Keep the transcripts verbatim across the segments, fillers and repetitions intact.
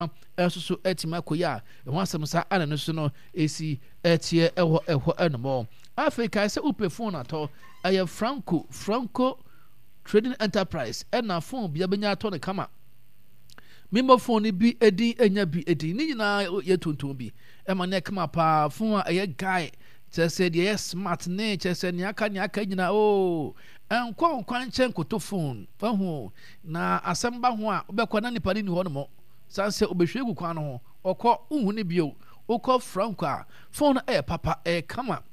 Nso so atumi akɔ yi a ɛho asɛm saa ana no so no ɛsi ɛteɛ ɛwɔ ɛhɔ ɛnomɔ. Afei kae sɛ wopɛ phone atɔ, ɛyɛ Franco Franco Trading Enterprise ɛna phone bia bɛnya atɔ no kama. Memmɔ phone no bi edin, ɛnya bi edin ne nyinaa yɛ tonton bi ɛma ne kama paa. Phone a ɛyɛ guy kyerɛ sɛ deɛ ɛyɛ smart ne kyerɛ sɛ nea aka nea aka nyinaa oo ɛnkɔ nkwan nkyɛn nkoto phone wahu na asɛm ba ho a wobɛkɔ na nipa no ni hɔ nom san sɛ obɛhwie gu kwan no ho ɔkɔ wohu ne bio. Wokɔ Franco a, phone no ɛyɛ papa, ɛyɛ kama,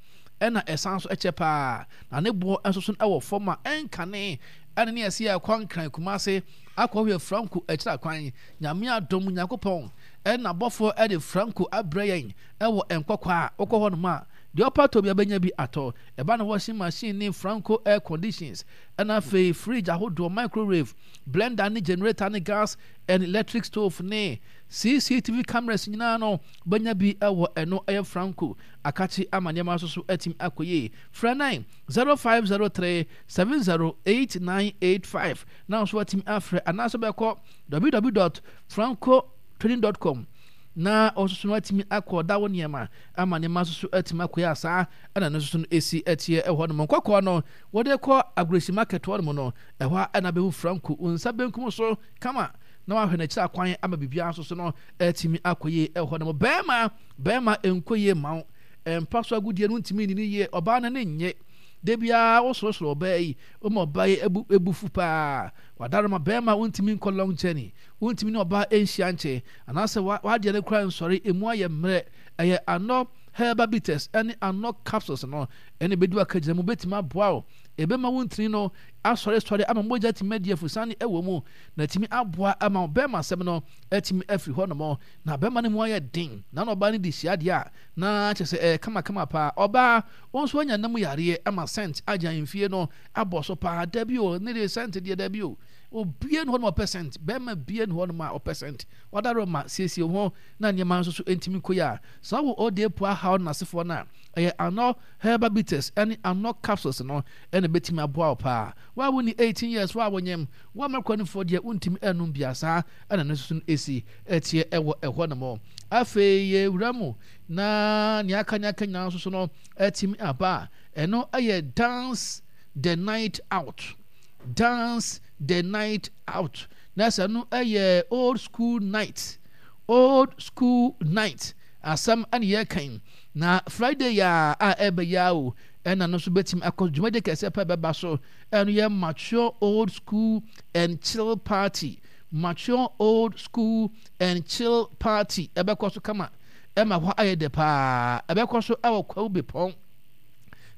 ɛna ɛsan so ɛkyɛ paa na ne boɔ nso so ɛwɔ fam a ɛnkane ɛne ne ɛsɛ yɛ ɛkɔ Nkran, Kumase akɔ hwɛ Franco akyira kwan. Nyame adom, Nyankopɔn ɛna bɔfoɔ ɛde Franco abrɛ yɛn ɛwɔ nkɔkɔ a wokɔ hɔ nom a deɛ ɔpɛ atɔ bi abɛnya bi atɔ. Ɛba no washing machine ne Franco air conditions, ɛna afei fridge ahodoɔ, microwave, blender ne generator ne gas and electric stove ne C C T V cameras nyinaa no bɛnya bi ɛwɔ ɛno ɛyɛ Franco akakye ama nneɛma nso so atumi akɔ yie. Frɛ nine zero five zero three seven zero eight nine eight five na nso atumi afrɛ anaasɛ bɛkɔ w w w dot francotrading dot com na ɔnso so no atumi akɔ da wo nneɛma ama nneɛma nso so atumi akɔ yie asaa. Ɛna no nso so no esi ɛteɛ ɛwɔ nom nkɔkɔɔ no wɔde kɔ Agoresi Market hɔ nom no ɛhɔ a ɛna bɛhu Franco wo nsa benkum so kama na wahwɛ n'akyiri akwan ama biribiara nso so no atumi akɔ yie ɛwɔ nom. Bɛrima, bɛrima nkɔ yie ma wo mpa so agodie no ntumi nni ne yie, ɔbaa no ne nye de biara wosorosoro ɔbaa yi woma ɔbaa yi ebu ebufu paa wadaroma. Bɛrima wontumi nkɔ long journey, wontumi ne ɔbaa nhyia nkyɛn anaasɛ wadeɛ no kora nsɔre emu ayɛ mmerɛ, ɛyɛ Anɔ Herbal Bitters ɛne Anɔ Capsules no ɛne bɛdi waka gyina mu bɛtumi aboa wo. Ɛbɛma wo ntini no asɔresɔre ama mogya tumi adi afusane ɛwɔ mu na atumi aboa ama wo bɛrima asɛm no atumi afiri hɔ nom na bɛrima no mu ayɛ den na na ɔbaa no di hyia deɛ a na kyerɛ sɛ ɛyɛ kamakama paa. Ɔbaa wɔn nso anya nam yareɛ ama scent agya mfie no abɔ so paa. Dabi o, ne de scent deɛ dabi o, obie ne hɔ nom ɔpɛ scent, bɛrima bie ne hɔ nom a ɔpɛ scent. Wadaro ma siesie ho na nneɛma nso so ntumi kɔ yi a saa wɔ ɔde po ahaw n'asefoɔ no a ɛyɛ Anɔ Herbal Bitters ɛne Anɔ Capsules no ɛna bɛtumi aboa wo paa. Wa wo ni eighteen years wa wɔnyɛm wa mɛkɔ deɛ wontumi ɛnum bia saa ɛna no nso so no esi ɛteɛ ɛwɔ ɛhɔ nom. Afei yɛwura mu na nea aka nea aka nyinaa nso so no ɛtumi aba a ɛno ɛyɛ Dance the Night Out, Dance the Night Out na sɛ no ɛyɛ Old School Night, Old School Night asɛm ɛne yɛkan na Friday yɛ a ɛbɛyɛ o ɛna no nso bɛtumi akɔ dwumadi kɛseɛ pɛ bɛba so. Ɛno yɛ mature old school and chill party, mature old school and chill party ɛbɛkɔ so kama ɛma hɔ ayɛ dɛ paa. Ɛbɛkɔ so ɛwɔ Kwawu Bepɔn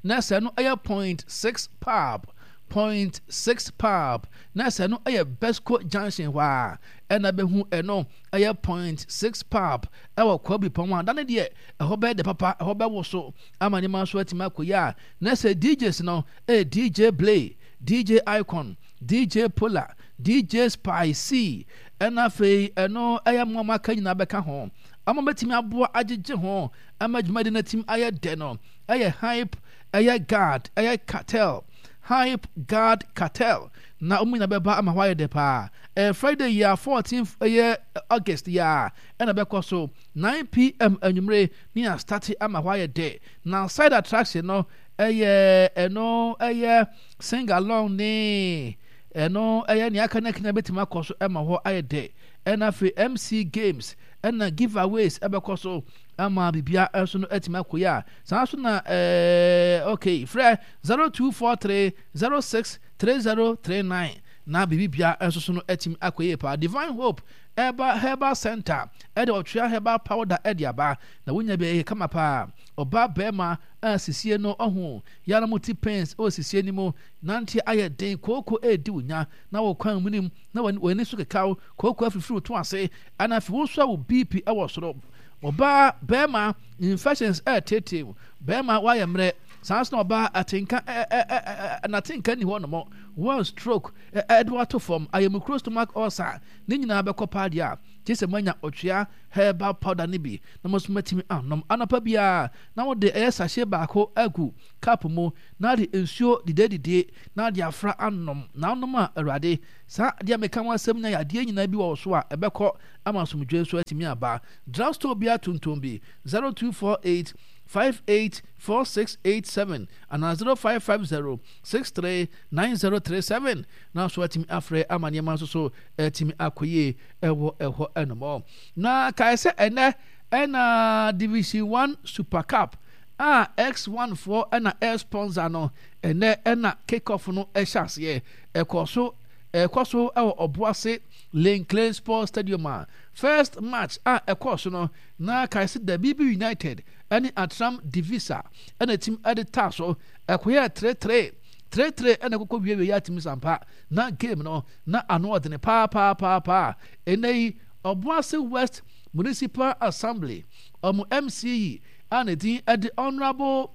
na sɛ no ɛyɛ Point Six Pub, Point Six Pub na sɛ no ɛyɛ Besco Junction hɔ a ɛna bɛhu ɛno ɛyɛ Point Six Pub ɛwɔ Kwawu Bepɔn a dane deɛ ɛhɔ bɛyɛ dɛ papa, ɛhɔ bɛwo so ama nneɛma nso atumi akɔ yi a na sɛ D Js no ɛyɛ D J Blay, D J Icon, D J Polar, D J Spicy, ɛna afei ɛno ɛyɛ mmoa aka nyinaa bɛka ho ama bɛtumi aboa agyegye ho ama dwumadi no atumi ayɛ dɛ no ɛyɛ Hype, ɛyɛ Guard, ɛyɛ Cartel, Hype Guard Cartel na wɔn nyinaa bɛba ama hɔ ayɛ dɛ paa. Ɛyɛ Friday yi a fourteen ɛyɛ August yi a ɛna bɛkɔ so nine p m anwummere ne astart ama hɔ ayɛ dɛ. Na side attraction no ɛyɛ ɛno ɛyɛ sing along ne ɛno ɛyɛ nea aka ne akenya bɛtumi akɔ so ɛma hɔ ayɛ dɛ. Ɛna afei M C games ɛna giveaways ɛbɛkɔ so ama bibia nso no atumi akɔ yi a saa nso na ɛɛ okay, frɛ zero two four three zero six three zero three nine na biribia nso so no atumi akɔ yie paa. Divine Hope Herbal Herbal Center ɛde ɔtwea herbal powder ɛde aba na wonya bi ɛyɛ kama paa. Ɔbaa, bɛrima a sisie no ɔho yàrá mu ti pains ɛwɔ sisie no mu, nante ayɛ den, kooko ɛredi wo nya na wɔ kwan mu nim na wɔn ani so kekaw, kooko afifiri to ase, ɛna afei wɔn nso a wɔ B P ɛwɔ soro. Ɔbaa, bɛrima, infections ɛɛtete bɛrima wayɛ mmerɛ saa nso na ɔbaa atenka ɛ ɛ ɛ n'atenka ni hɔ nom one stroke ɛde wato fam ayɛmukuro, stomach ulcer ne nyinaa bɛkɔ paa deɛ a Gye sɛ moanya Ɔtwea herbal powder no bi na mo nso moatumi anom. Anɔpa biara na wode ɛyɛ sachet baako agu cup mu na wode nsuo didedidie na wode afra anom. Na wonom a, Awurade, saa adeɛ a meka ho asɛm nyinaa yɛ adeɛ nyinaa bi wɔ wo so a ɛbɛkɔ ama asomdwoeɛ nso atumi aba. Drugstore biara tontɔn bi, zero two four eight five eight four six eight seven anaa zero five five zero six three nine zero three seven na nso atumi afrɛ ama nneɛma nso so atumi akɔ yie ɛwɔ ɛhɔ ɛnom. Na kae sɛ ɛnɛ ɛna Division One Super Cup a X one foɔ ɛna air sponsor no, ɛnɛ ɛna kick off no ɛhyɛ aseɛ, ɛkɔ so ɛkɔ so ɛwɔ Ɔboase Lane Clay Sports Stadium a first match a ɛkɔɔ so no na kae sɛ Dabibi United ɛne Atram Divisa ɛna tim ɛde taa so ɛkɔyɛ three three three three ɛna ɛkɔkɔ wiewie yɛ atumi sampa na game no na ano ɔdene paapaapaa. Ɛnɛ yi Ɔboase West Municipal Assembly ɔmo M C E a ne din ɛde Honourable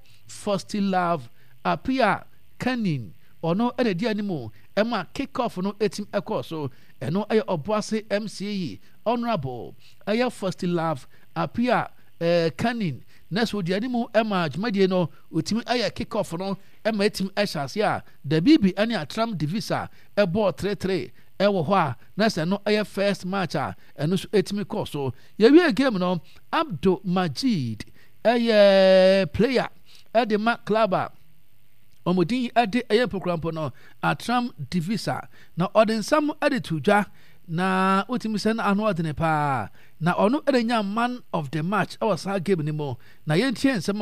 Love Apia Kanin, ɔno ɛna ɛdi anim ɛma kick off no ɛtim ɛkɔɔ so. Ɛno ɛyɛ Ɔboase M C E Honourable ɛyɛ Love Apia ɛɛ Kanin na so odi anim ɛma dwumadie no otimi ɛyɛ kick off no ɛma ɛtim ɛhyɛ ase a Dabibi ɛne Atram Divisa ɛbɔɔ three three ɛwɔ hɔ a na sɛ no ɛyɛ first match a ɛno nso ɛtumi kɔɔ so. Yɛwie game no, Abdul Majid ɛyɛ player ɛde ma club a wɔn din ɛde ɛyɛ mpokurampo no Atram Divisa na ɔde nsɛm ɛde to dwa na wotumi sɛ no ano ɔdene paa na ɔno ɛde nya man of the match ɛwɔ saa game no mu. Na yɛntie nsɛm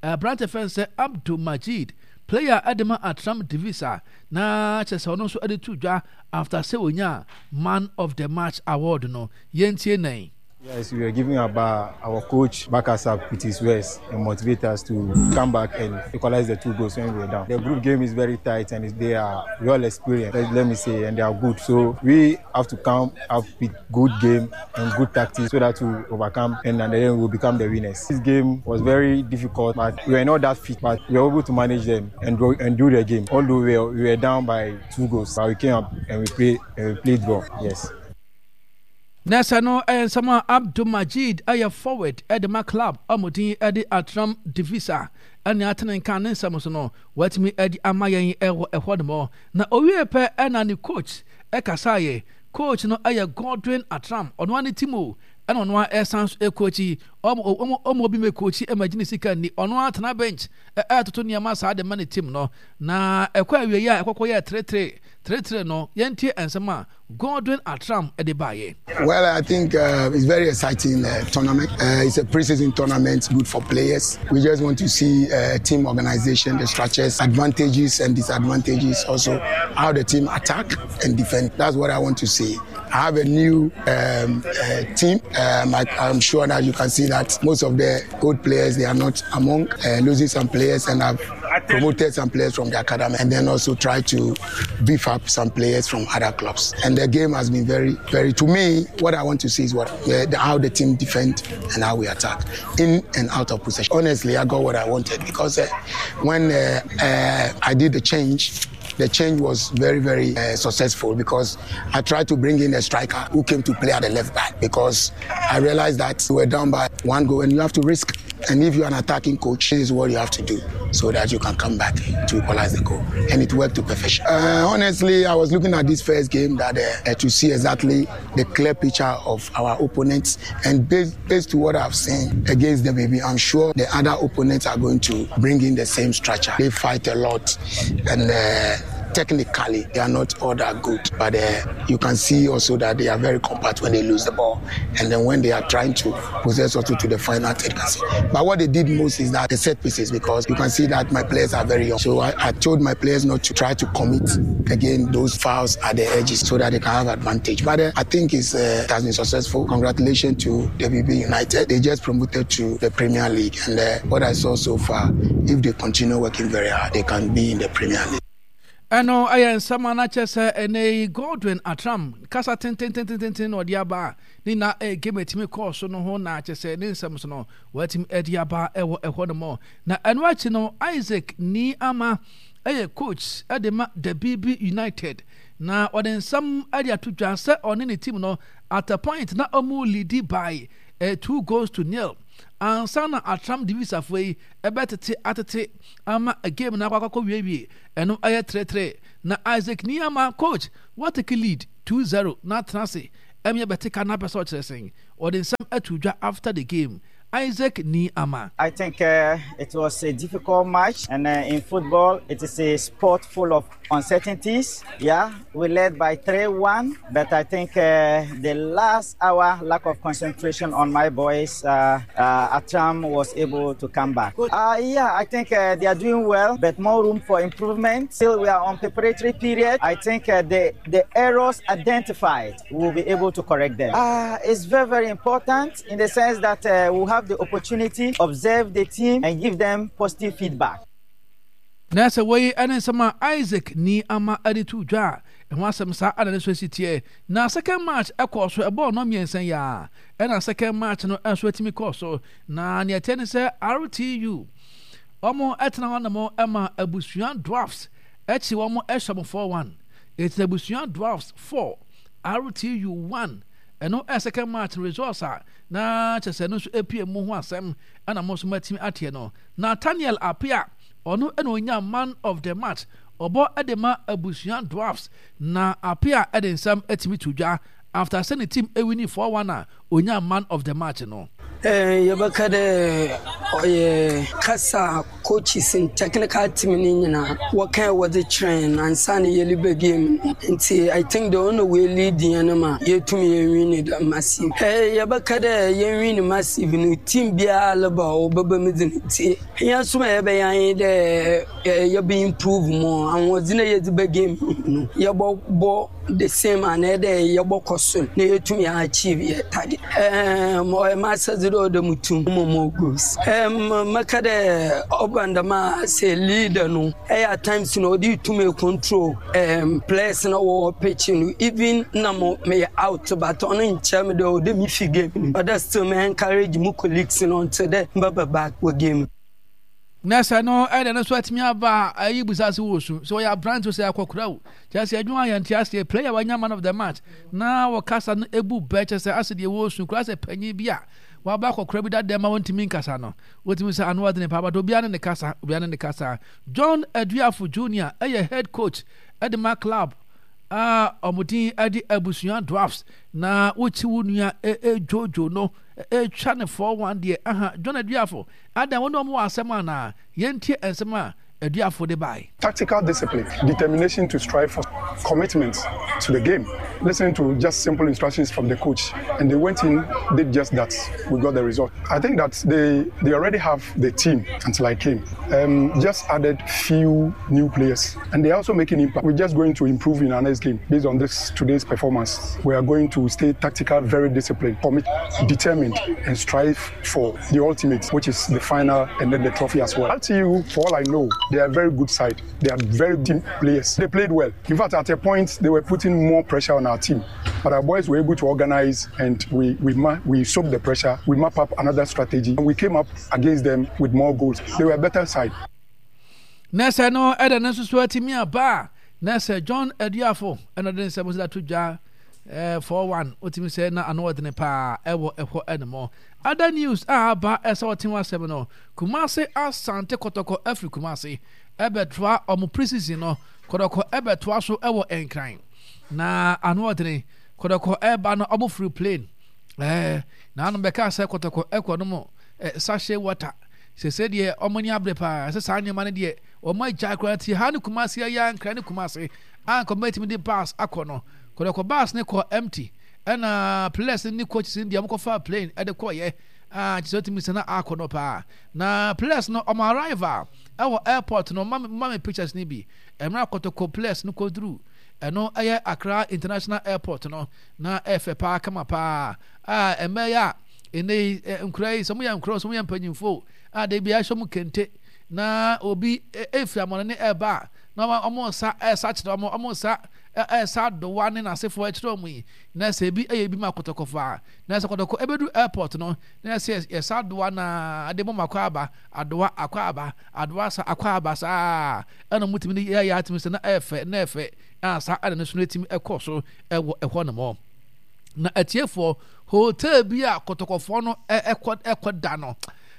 a aberante fɛn sɛ Abdul Majid, player ɛde ma Atram Divisa, na kyerɛ sɛ ɔno nso ɛde to dwa after sɛ onya man of the match award no. Yɛntie nan. Yes, we were giving our, our coach back us up with his words and motivate us to come back and equalize the two goals when we were down. The group game is very tight and they are well experienced, let, let me say, and they are good. So we have to come up with good game and good tactics so that we overcome and, and then we'll become the winners. This game was very difficult, but we were not that fit, but we were able to manage them and, and do the game. Although we were, we were down by two goals, but we came up and we played, and we played well. Yes. Na sɛ no ɛyɛ nsɛm a Abdul Majid ɛyɛ forward ɛde ma club ɔmodin ɛde Atram Divisa ɛne atene nka ne nsɛm so no watumi ɛde ama yɛn ɛwɔ ɛhɔ nom. Na owie pɛ ɛna ne coach ɛkasaeɛ. Coach no ɛyɛ Godwin Atram, ɔno ara ne team o, ɛna ɔno ara ɛsan so ɛcoach. ɔmo ɔmo ɔmo obi mɛ coach ɛma gyina sika ni, ɔno ara tena bench ɛɛtoto nneɛma saa de ma ne team no. Na ɛkɔ awie a ɛkɔkɔ yɛ three three three three no, yɛntie nsɛm a Godwin Atram ɛde baayɛ. Well, I think uh, it's very exciting uh, tournament. Uh, it's a preseason tournament, good for players. We just want to see uh, team organization, the structures, advantages and disadvantages, also how the team attack and defend. That's what I want to see. I have a new um, uh, team. Um, I, I'm sure that you can see that most of the old players, they are not among, uh, losing some players, and I've promoted some players from the academy and then also try to beef up some players from other clubs. And the game has been very, very, to me, what I want to see is what uh, the, how the team defend and how we attack in and out of possession. Honestly, I got what I wanted because uh, when uh, uh, I did the change, the change was very, very uh, successful because I tried to bring in a striker who came to play at the left back because I realized that we were down by one goal and you have to risk. And if you're an attacking coach, this is what you have to do so that you can come back to equalize the goal. And it worked to perfection. Uh, honestly, I was looking at this first game that uh, to see exactly the clear picture of our opponents. And based, based to what I've seen against the baby, I'm sure the other opponents are going to bring in the same structure. They fight a lot and uh, technically they are not all that good, but uh, you can see also that they are very compact when they lose the ball, and then when they are trying to possess also to the final third. But what they did most is that the set pieces, because you can see that my players are very young. So I, I told my players not to try to commit again those fouls at the edges so that they can have advantage. But uh, I think it's, uh, it has been successful. Congratulations to W B United. They just promoted to the Premier League, and uh, what I saw so far, if they continue working very hard, they can be in the Premier League. Ɛno ɛyɛ nsɛm a n'akyɛ sɛ ɛnɛ yi Godwin Atram kasa tententententen na ɔde aba a ne na ɛyɛ game atumi kɔɔ so no ho na akyɛ sɛ ne nsɛm so no wɔatumi ɛde aba ɛwɔ ɛhɔ nom. Na ɛno akyi no, Isaac Ni Ama ɛyɛ coach ɛde ma Dabibi United. Na ɔde nsɛm de ato dwa sɛ ɔne ne team no, at a point na ɔmo lead by uh, two goals to nil ansa na Attram De Vissafoɔ yi ɛbɛtete atete ama game no akɔ akɔkɔ wiewie. Ɛno ɛyɛ three three. Na Isaac Nii Armah, coach, watake lead two zero na atena ase ɛmi ɛbɛte ka na apɛ sɛ ɔkyerɛ sɛn. Ɔde nsɛm ato dwa after the game, Isaac Nii Armah. I think uh, it was a difficult match, and uh, in football, it is a sport full of uncertainties. Yeah, we led by three one, but I think uh, the last hour, lack of concentration on my boys, uh, uh, Attram was able to come back. Uh, yeah, I think uh, they are doing well, but more room for improvement. Still, we are on preparatory period. I think uh, the, the errors identified, we will be able to correct them. Uh, it's very, very important in the sense that uh, we have the opportunity to observe the team and give them positive feedback. Na sɛ wɔyi ɛne nsɛm a Isaac Nii Armah de to dwa a, ɛho asɛm saa ana ne so asi teɛ. Na second match ɛkɔɔ so, ɛbɔɔ no mmiɛnsa yi a ɛna second match no nso atumi kɔɔ so. Na nea ɛteɛ ne sɛ R T U wɔn ɛtena hɔ nom ɛma Abusua Dwarfs akyi wɔn ɛhyɛ mo four one. Ɛtina Abusua Dwarfs four, R T U one. Ɛno ɛ second match no results a na kyerɛ sɛ ɛno nso epie mu ho asɛm ɛna mo nso matumi ateɛ no. Nathaniel Apia, ɔno ɛna onya man of the match, ɔbɔ ɛde ma Abusua Dwarfs. Na Apia ɛde nsɛm ɛtumi to dwa after sɛ ne team ewin four one a onya man of the match no. Eh, yɛbɛka dɛ ɔyɛ kasa coaches and technical team ne nyinaa wɔka wɔdze kyerɛ yɛn ansa na yɛleba game no. Nti I think the only way lead yɛn no ma yɛtumi yɛnwin ne dɛ massive. Eh, yɛbɛka dɛ yɛnwin massive no, team biara leba a ɔbɛba mu dze ne nti yɛn nso ma yɛbɛyɛ anyi dɛ eh, yɛbɛ improve more ahoɔdzen a yɛdze ba game no, yɛbɔbɔ the same anaa dɛ yɛbɔkɔ so na yɛtumi achieve yɛ target. um, ɔyɛ m'asɛdze dɛ ɔda mu tum mo more goals. um, mɛka dɛ ɔba ndɛm a sɛ leader no ɛyɛ at times no ɔde tumi control um, players na wɔwɔ pitch no, even na mo meyɛ out, but ɔno nkyɛn me dɛ ɔde me fi game no, ɔda still me encourage mu colleagues no until dɛ mbɛba back wɔ game. Na sɛ no ɛde no so atumi aba a, ayi busa se wɔ su sɛ ɔyɛ aberante sɛ akɔkora o, kyerɛ sɛ adwuma yɛ nte aseɛ. Player wanya man of the match na wɔkasa no ebu bɛ, kyerɛ sɛ ase deɛ wɔsu kora sɛ panyin bi a waba akɔkora bi dada ma wɔntumi nkasa no, wɔtumi sɛ ano ɔdene paa, but obiara ne ne kasa, obiara ne ne kasa. John Aduafo Junior ɛyɛ head coach ɛde ma club a ɔmo din ɛde Abusua Dwarfs. Na wokyi wo nua ɛdwoodwo no ɛtwa ne four one deɛ aha. John Aduafo adan wɔn a wɔn wɔ asɛm anaa yɛntie nsɛm a Aduafo de bae. Tactical discipline, determination to strive for commitment to the game, listening to just simple instructions from the coach, and they went in, did just that. We got the result. I think that they they already have the team until I came. Um, just added few new players, and they're also making impact. We're just going to improve in our next game based on this today's performance. We are going to stay tactical, very disciplined, commit, determined, and strive for the ultimate, which is the final and then the trophy as well. R T U, for all I know, they are a very good side. They are very team players. They played well. In fact, at a point, they were putting more pressure on our team. But our boys were able to organize and we, we, ma- we soaked the pressure. We map up another strategy and we came up against them with more goals. They were a better side. Na sɛ no ɛda no nso so atumi aba a, na sɛ John Aduafo ɛna de nsɛm so da to dwa ɛɛ four one, wotumi sɛ na ano ɔdene paa ɛwɔ ɛhɔ ɛnom. Other news a aba ɛsɛ ɔte ho asɛm no, Kumase Asante Kɔtɔkɔ afiri Kumase ɛbɛtoa ɔmo pre-season no. Kɔtɔkɔ ɛbɛtoa so ɛwɔ Nkran na ano ɔdene. Kɔtɔkɔ ɛba no, ɔmo firi plane ɛɛ na ano bɛka sɛ Kɔtɔkɔ ɛkɔ no mo ɛ sachet water sese deɛ ɔmo ani abere paa sɛ saa nneɛma no deɛ ɔmo agya koraa ti ha ne Kumase ɛyɛ Nkran ne Kumase a nkɔmɔ etimi de bus akɔ no. Kɔtɔkɔ bus ne kɔ empty, ɛna players ne coaches ne deɛ ɔmo kɔfa plane ɛde kɔɔyɛ a kyerɛ sɛ ɔtumi sɛ na akɔ no paa. Na players no ɔmo arrival ɛwɔ airport no, mma mma me pictures ne bi mmerɛ Kɔtɔkɔ players no kɔduru ɛno ɛyɛ Accra International Airport no, na ɛfɛ paa, kama paa a ɛmɛ yɛ a ɛnɛ yi nkura yi sɛ mo yɛ nkura, sɛ mo yɛ mpanyinfo a de bi ahyɛ mo kente na obi efiri amɔne ne ɛɛba a Na ɔmo nsa ɛsa kyerɛ ɔmo, ɔmo nsa ɛsa adowa ne n'asefoɔ ɛkyerɛ ɔmo yi. Na sɛ ebi ɛyɛ bi ma Kɔtɔkɔfo a, na sɛ Kɔtɔkɔ ɛbɛdu airport no, na sɛ yɛsa adowa na ade mo akɔ aba, adowa akɔ aba, adowa sa akɔ aba saa. Ɛna ɔmo tumi yɛ yɛ atumi sɛ na ɛɛfɛ na ɛfɛ a saa ɛna ne so no etumi ɛkɔ so ɛwɔ ɛhɔ nom. Na atiefoɔ, hotel bi a Kɔtɔkɔfoɔ no ɛkɔ ɛkɔ da no,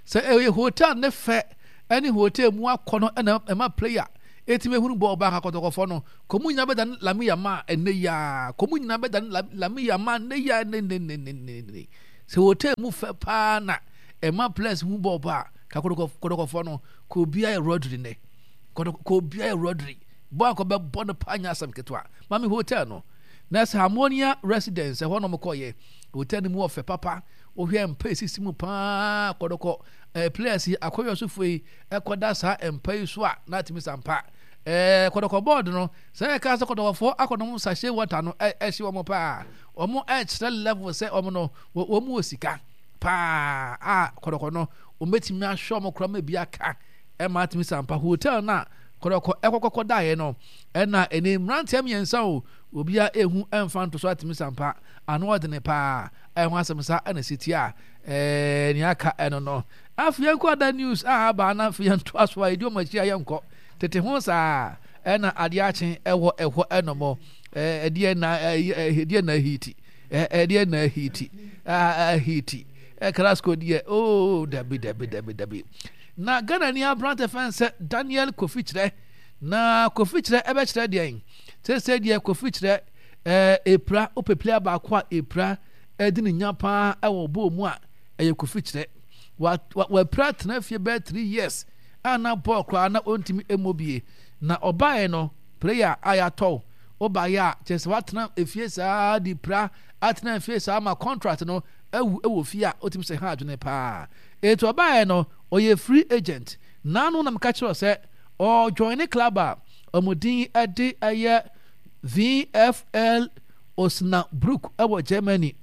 sɛ ɛyɛ hotel ne fɛ ɛne hotel mu akɔ no ɛna ɛma player etimi ehunu bɔɔl baaka. Kɔtɔkɔfoɔ no kɔmu nyinaa bɛda ne Lamine Yamal ɛnɛ yaa, kɔmu nyinaa bɛda ne Lamine Yamal ɛnɛ yaa ne ne ne ne ne ne. Sɛ hotel mu fɛ paa na ɛma players hu bɔɔl ba ka Kɔtɔkɔfoɔ no kɔ obiara yɛ Rodri nɛ, kɔ obiara yɛ Rodri bɔɔl akɔ bɛbɔ no paa nyɛ asɛm ketewa. Maame hotel no na sɛ Harmonia Residence ɛhɔ nom kɔyɛ hotel no mu wɔ fɛ papa. Wohwɛ mpa esisi mu paa, Kɔtɔkɔ ɛɛ players yi akɔyɔ sofoɔ yi ɛkɔda saa mpa yi so a na atumi sa mpa. ɛɛ Kɔtɔkɔ board no sɛ ɛka sɛ Kɔtɔkɔfoɔ akɔnom sachet water no ɛhye wɔn paa. Wɔn ɛkyerɛ level sɛ wɔn no wɔn mu wɔ sika paa a Kɔtɔkɔ no wɔn bɛtumi ahwɛ wɔn koraa ma bi aka ɛma atumi sa mpa. Hotel no a Kɔtɔkɔ ɛkɔkɔkɔ daeɛ no ɛna ɛne mmeranteɛ mmiɛnsa o, obiara ehu ɛmfa nto so atumi sa mpa ano ɔdene paa. Ɛho asɛm sa ɛna si tia ɛɛ nea aka ɛno no. Afei yɛnkɔ ada news a aba na afei yɛntoa so a yɛdi wɔn akyi a yɛnkɔ tete ho saa. Ɛna adeɛ akye ɛwɔ ɛhɔ ɛnom ɛɛ ɛdeɛ na ɛɛ ɛdeɛ na ahiti, ɛdeɛ na ahiti ahiti ɛkrasco deɛ ooo, dabi dabi dabi dabi. Na Ghana ni aberante fɛn sɛ Daniel Kofi Kyerɛ, na Kofi Kyerɛ ɛbɛkyerɛ deɛn sɛsɛ deɛ Kofi Kyerɛ ɛɛ epira opeplia baako a epira ɛdi ne nya paa ɛwɔ bɔɔl mu a ɛyɛ Kofi Kyerɛ. Wa wa wapira tena fie bɛyɛ three years a na bɔɔl koraa na ɔntumi ɛmmɔ bie. Na ɔbaeɛ no, player a yɛatɔw ɔbaeɛ a kyerɛ sɛ watena efie saa de pira atena efie saa ma contract no awu ɛwɔ fie a ɔtumi sɛ ha adwene paa. Etu ɔbaeɛ no ɔyɛ free agent. Naanu na meka kyerɛ sɛ ɔjoin ne club a ɔmo din ɛde ɛyɛ V F L Osnabrück ɛwɔ Germany.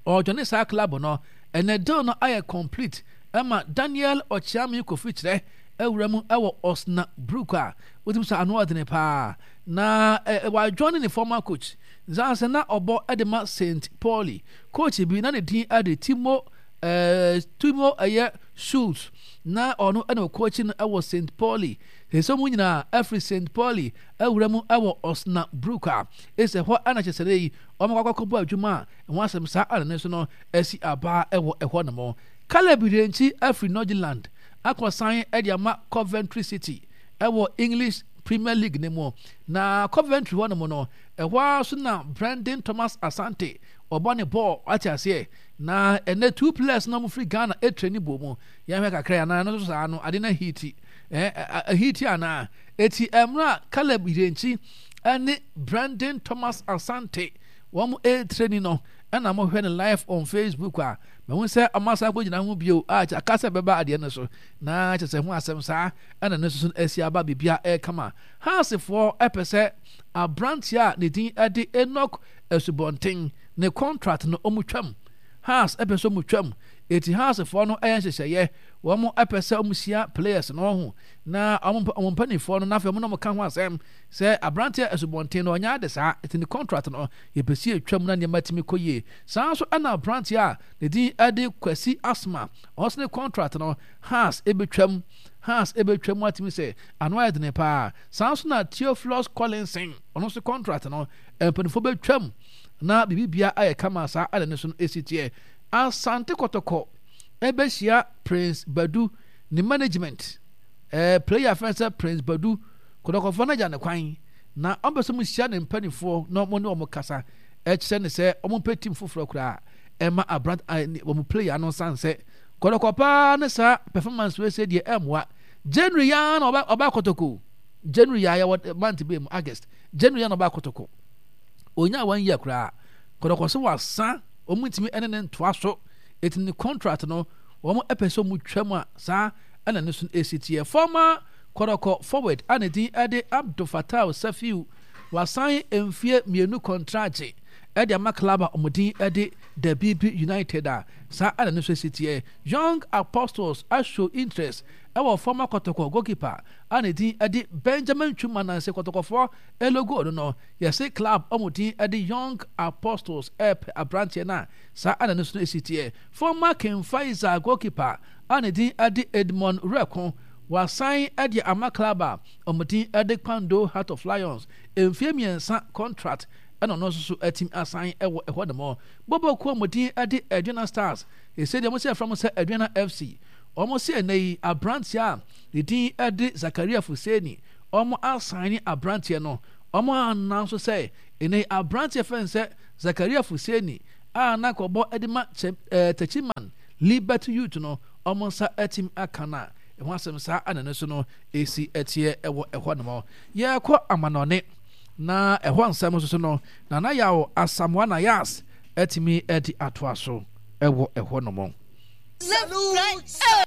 Ɔjoin saa club no. Ɛnɛ deal no ayɛ complete ɛma Daniel Ɔkyeame Kofi Kyerɛ awura mu ɛwɔ Osnabrück a wotumi sɛ ano ɔdene paa na ɛ wajoin ne former coach nsanse na ɔbɔ ɛde ma Saint Pauli coach bi na ne din ɛde Timo ɛɛ Timo ɛyɛ Schultz, na ɔno ɛna ɔcoach no ɛwɔ Saint Pauli. Sɛ mu nyinaa ɛfiri Saint Pauli awura mu ɛwɔ Osnabrück a ɛsɛ hɔ ɛna kyerɛ sɛ yi wɔn akɔ akɔbɔ adwuma a ɛho asɛm saa ɛna ne so no ɛsi aba ɛwɔ ɛhɔ nom. Caleb Yirenkyi afiri Northland akɔsan ɛde ama Coventry City ɛwɔ English Premier League ne mu. Na Coventry hɔ nom no, ɛhɔ ara so na Brandon Thomas Asante ɔbɔ ne bɔɔl ate aseɛ. Na ɛnɛ two players na wɔn firi Ghana etre ne bɔ mu. Yɛhwɛ kakra yɛn anan no so saa no ade na hiti ɛɛ ɛhiti anaa eti ɛmra Caleb Yirenkyi ɛne Brandon Thomas Asante wɔn etre ni no ɛna mohwɛ no live on Facebook a mahu sɛ ɔmo asan akɔgyina ho bio a aka sɛ bɛba adeɛ no so na kyerɛ sɛ ho asɛm saa ɛna ne nso so asi aba biribia ɛrekama. Heartsfoɔ ɛpɛ sɛ aberanteɛ a ne din ɛde Enoch Asubɔnten ne contract no ɔmo twam. Hearts ɛpɛ sɛ ɔmo twam, eti Heartsfoɔ no ɛyɛ nhyehyɛeɛ, wɔn ɛpɛ sɛ ɔmo hyia players no ho na ɔmo ɔmo mpanimfoɔ no n'afɛ ɔmo na ɔmo ka ho asɛm sɛ aberanteɛ Asubɔnten no ɔnyɛ ade saa, eti ne contract no yɛpɛ si etwam na nneɛma tumi kɔ yie. Saa nso ɛna aberanteɛ a ne din ɛde Kwasi Asma ɔno ne contract no Hearts ebetwam, Hearts ebetwam atumi sɛ ano ayɛ dene paa. Saa nso na Theophilus Collinson ɔno nso contract no mpanimfoɔ bɛtwam na biribibia ayɛ kama. Saa ɛna ne so no esi teɛ. Asante Kɔtɔkɔ ɛbɛhyia Prince Badu ne management. ɛɛ player fɛn sɛ Prince Badu, Kɔtɔkɔfoɔ no agya ne kwan na ɔmpɛ sɛ mo hyia ne mpanimfoɔ na ɔmo ne ɔmo kasa ɛkyerɛ ne sɛ ɔmo mpɛ team foforɔ koraa ɛma abrant wɔn player no nsan sɛ Kɔtɔkɔ paa ne saa performance wei sɛ deɛ ɛmmoa. January yaa na ɔba ɔba Kɔtɔkɔ January yaa yɛwɔ month bɛɛ mu August, January yaa na ɔba Kɔtɔkɔ onya one year koraa. Kɔtɔkɔ so wasa wɔn ntumi ɛne ne ntoa so, eti ne contract no wɔn ɛpɛ sɛ wɔn twa mu a saa ɛna ne so esi teɛ. Former Kɔtɔkɔ forward a ne din ɛde Abdul Fatah Safiu wasan mfie mmienu contract. Ɛde ama club a wɔn din ɛde The B B United a saa ɛna ne nso esi teɛ. Young Apostles ashow interest ɛwɔ former Kɔtɔkɔ goalkeeper a ne din ɛde Benjamin Twum Ananse. Kɔtɔkɔfoɔ elogo no no yɛse club wɔn din ɛde Young Apostles ɛɛpɛ aberanteɛ no a saa ɛna ne nso esi teɛ. Former King Faisal goalkeeper a ne din ɛde Edmond Reko wasan ɛde ama club a wɔn din ɛde Kpando Heart of Lions, mfie mmiɛnsa contract ɛna ɔno nso so atumi asan ɛwɔ ɛhɔ nom. Bɔbɔkuo a wɔn din ɛde Aduana Stars, ese deɛ wɔn sɛ ɛfrɛ mo sɛ Aduana F C, wɔn sɛ ɛnɛ yi aberanteɛ a ne din ɛde Zakaria Fuseni, wɔn asan ne aberanteɛ no. Wɔn anan nso sɛ ɛnɛ yi aberanteɛ fɛn sɛ Zakaria Fuseni a na kɔbɔ ɛde ma kyɛ ɛɛ Techiman Liberty Youth no, wɔn nsa atumi aka no a ɛho asɛm saa ɛna no so no esi ɛteɛ ɛwɔ ɛhɔ nom. Yɛrekɔ amanɔne na ɛhɔ nsɛm nso so no, Nana Yaw Asamoah Nayas atumi ɛde atoa so ɛwɔ ɛhɔ nom. Left, right.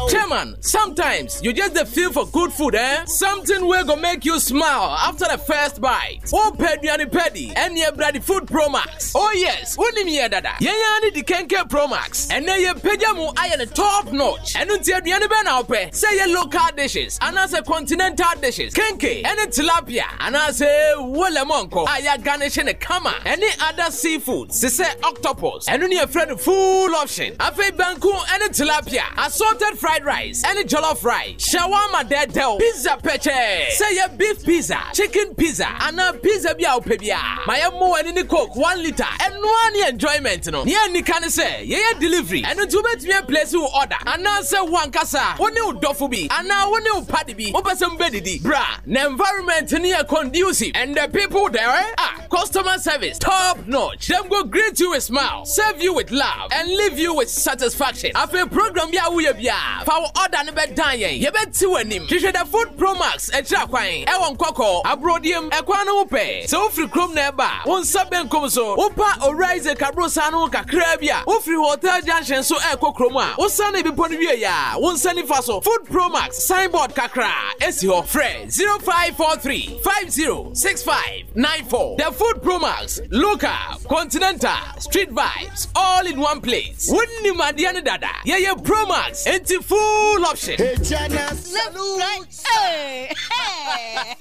Chairman, sometimes you just dey feel for good food, eh? Something wey go make you smile after the first bite. Oh, Peduani Pedi, and your bloody Food Pro Max. Oh yes, wonim yɛ dada. Yɛn ya ne di Kenke Pro Max. Ɛnɛ yɛ pagya mu ayɛ no top notch. Ɛno nti aduane bɛn na wopɛ? Sɛ yɛ local dishes anaasɛ continental dishes, kenke ɛne tilapia anaasɛ wo lemon kɔ a yɛagarnish ne kama ɛne other seafood te sɛ octopus. Ɛno ne yɛfrɛ no full option. Afei banku ɛne tilapia, assorted fried rice ɛne jollof rice, shawarma dɛdɛw, pizza pɛkyɛɛ. Sɛ yɛ beef pizza, chicken pizza anaa pizza bi a wopɛ biara. Ma yɛmmɔ w'ani ne Coke one litre. Ɛnoa ne enjoyment no. Nea nika ne sɛ yɛyɛ delivery. Ɛno nti wobɛtumi aplace wo order anaasɛ wo ankasa wo ne wo dɔfo bi anaa wo ne wo party bi wopɛ sɛ mobɛdidi. Bra na environment no yɛ conducive and the people there, ah, customer service top notch. Dem go greet you with smile, serve you with love and leave you with satisfaction. Afei program bi a woyɛ biara, fa wo order no bɛdan yɛn, yɛbɛti w'anim. Hwehwɛ The Food Pro Max akyiri akwan ɛwɔ Nkɔkɔ Aburodiem ɛkwan no ho pɛ. Sɛ wofiri kurom na ɛba a, wo nsa benkum so, wopa Owura Isaac Aborosan no ho kakraa bi a, wofiri Hotel Junction so ɛrekɔ kurom a, wosane bepɔ no wie a, wo nsa nifa so, Food Pro Max signboard kakra esi hɔ. Frɛ zero five four three five zero six five nine four. The Food Pro Max, local, continental, street vibes, all in one place. Wonnim adeɛ no dada. Yɛyɛ Pro Max, enti full option. Left, right, hey, hey.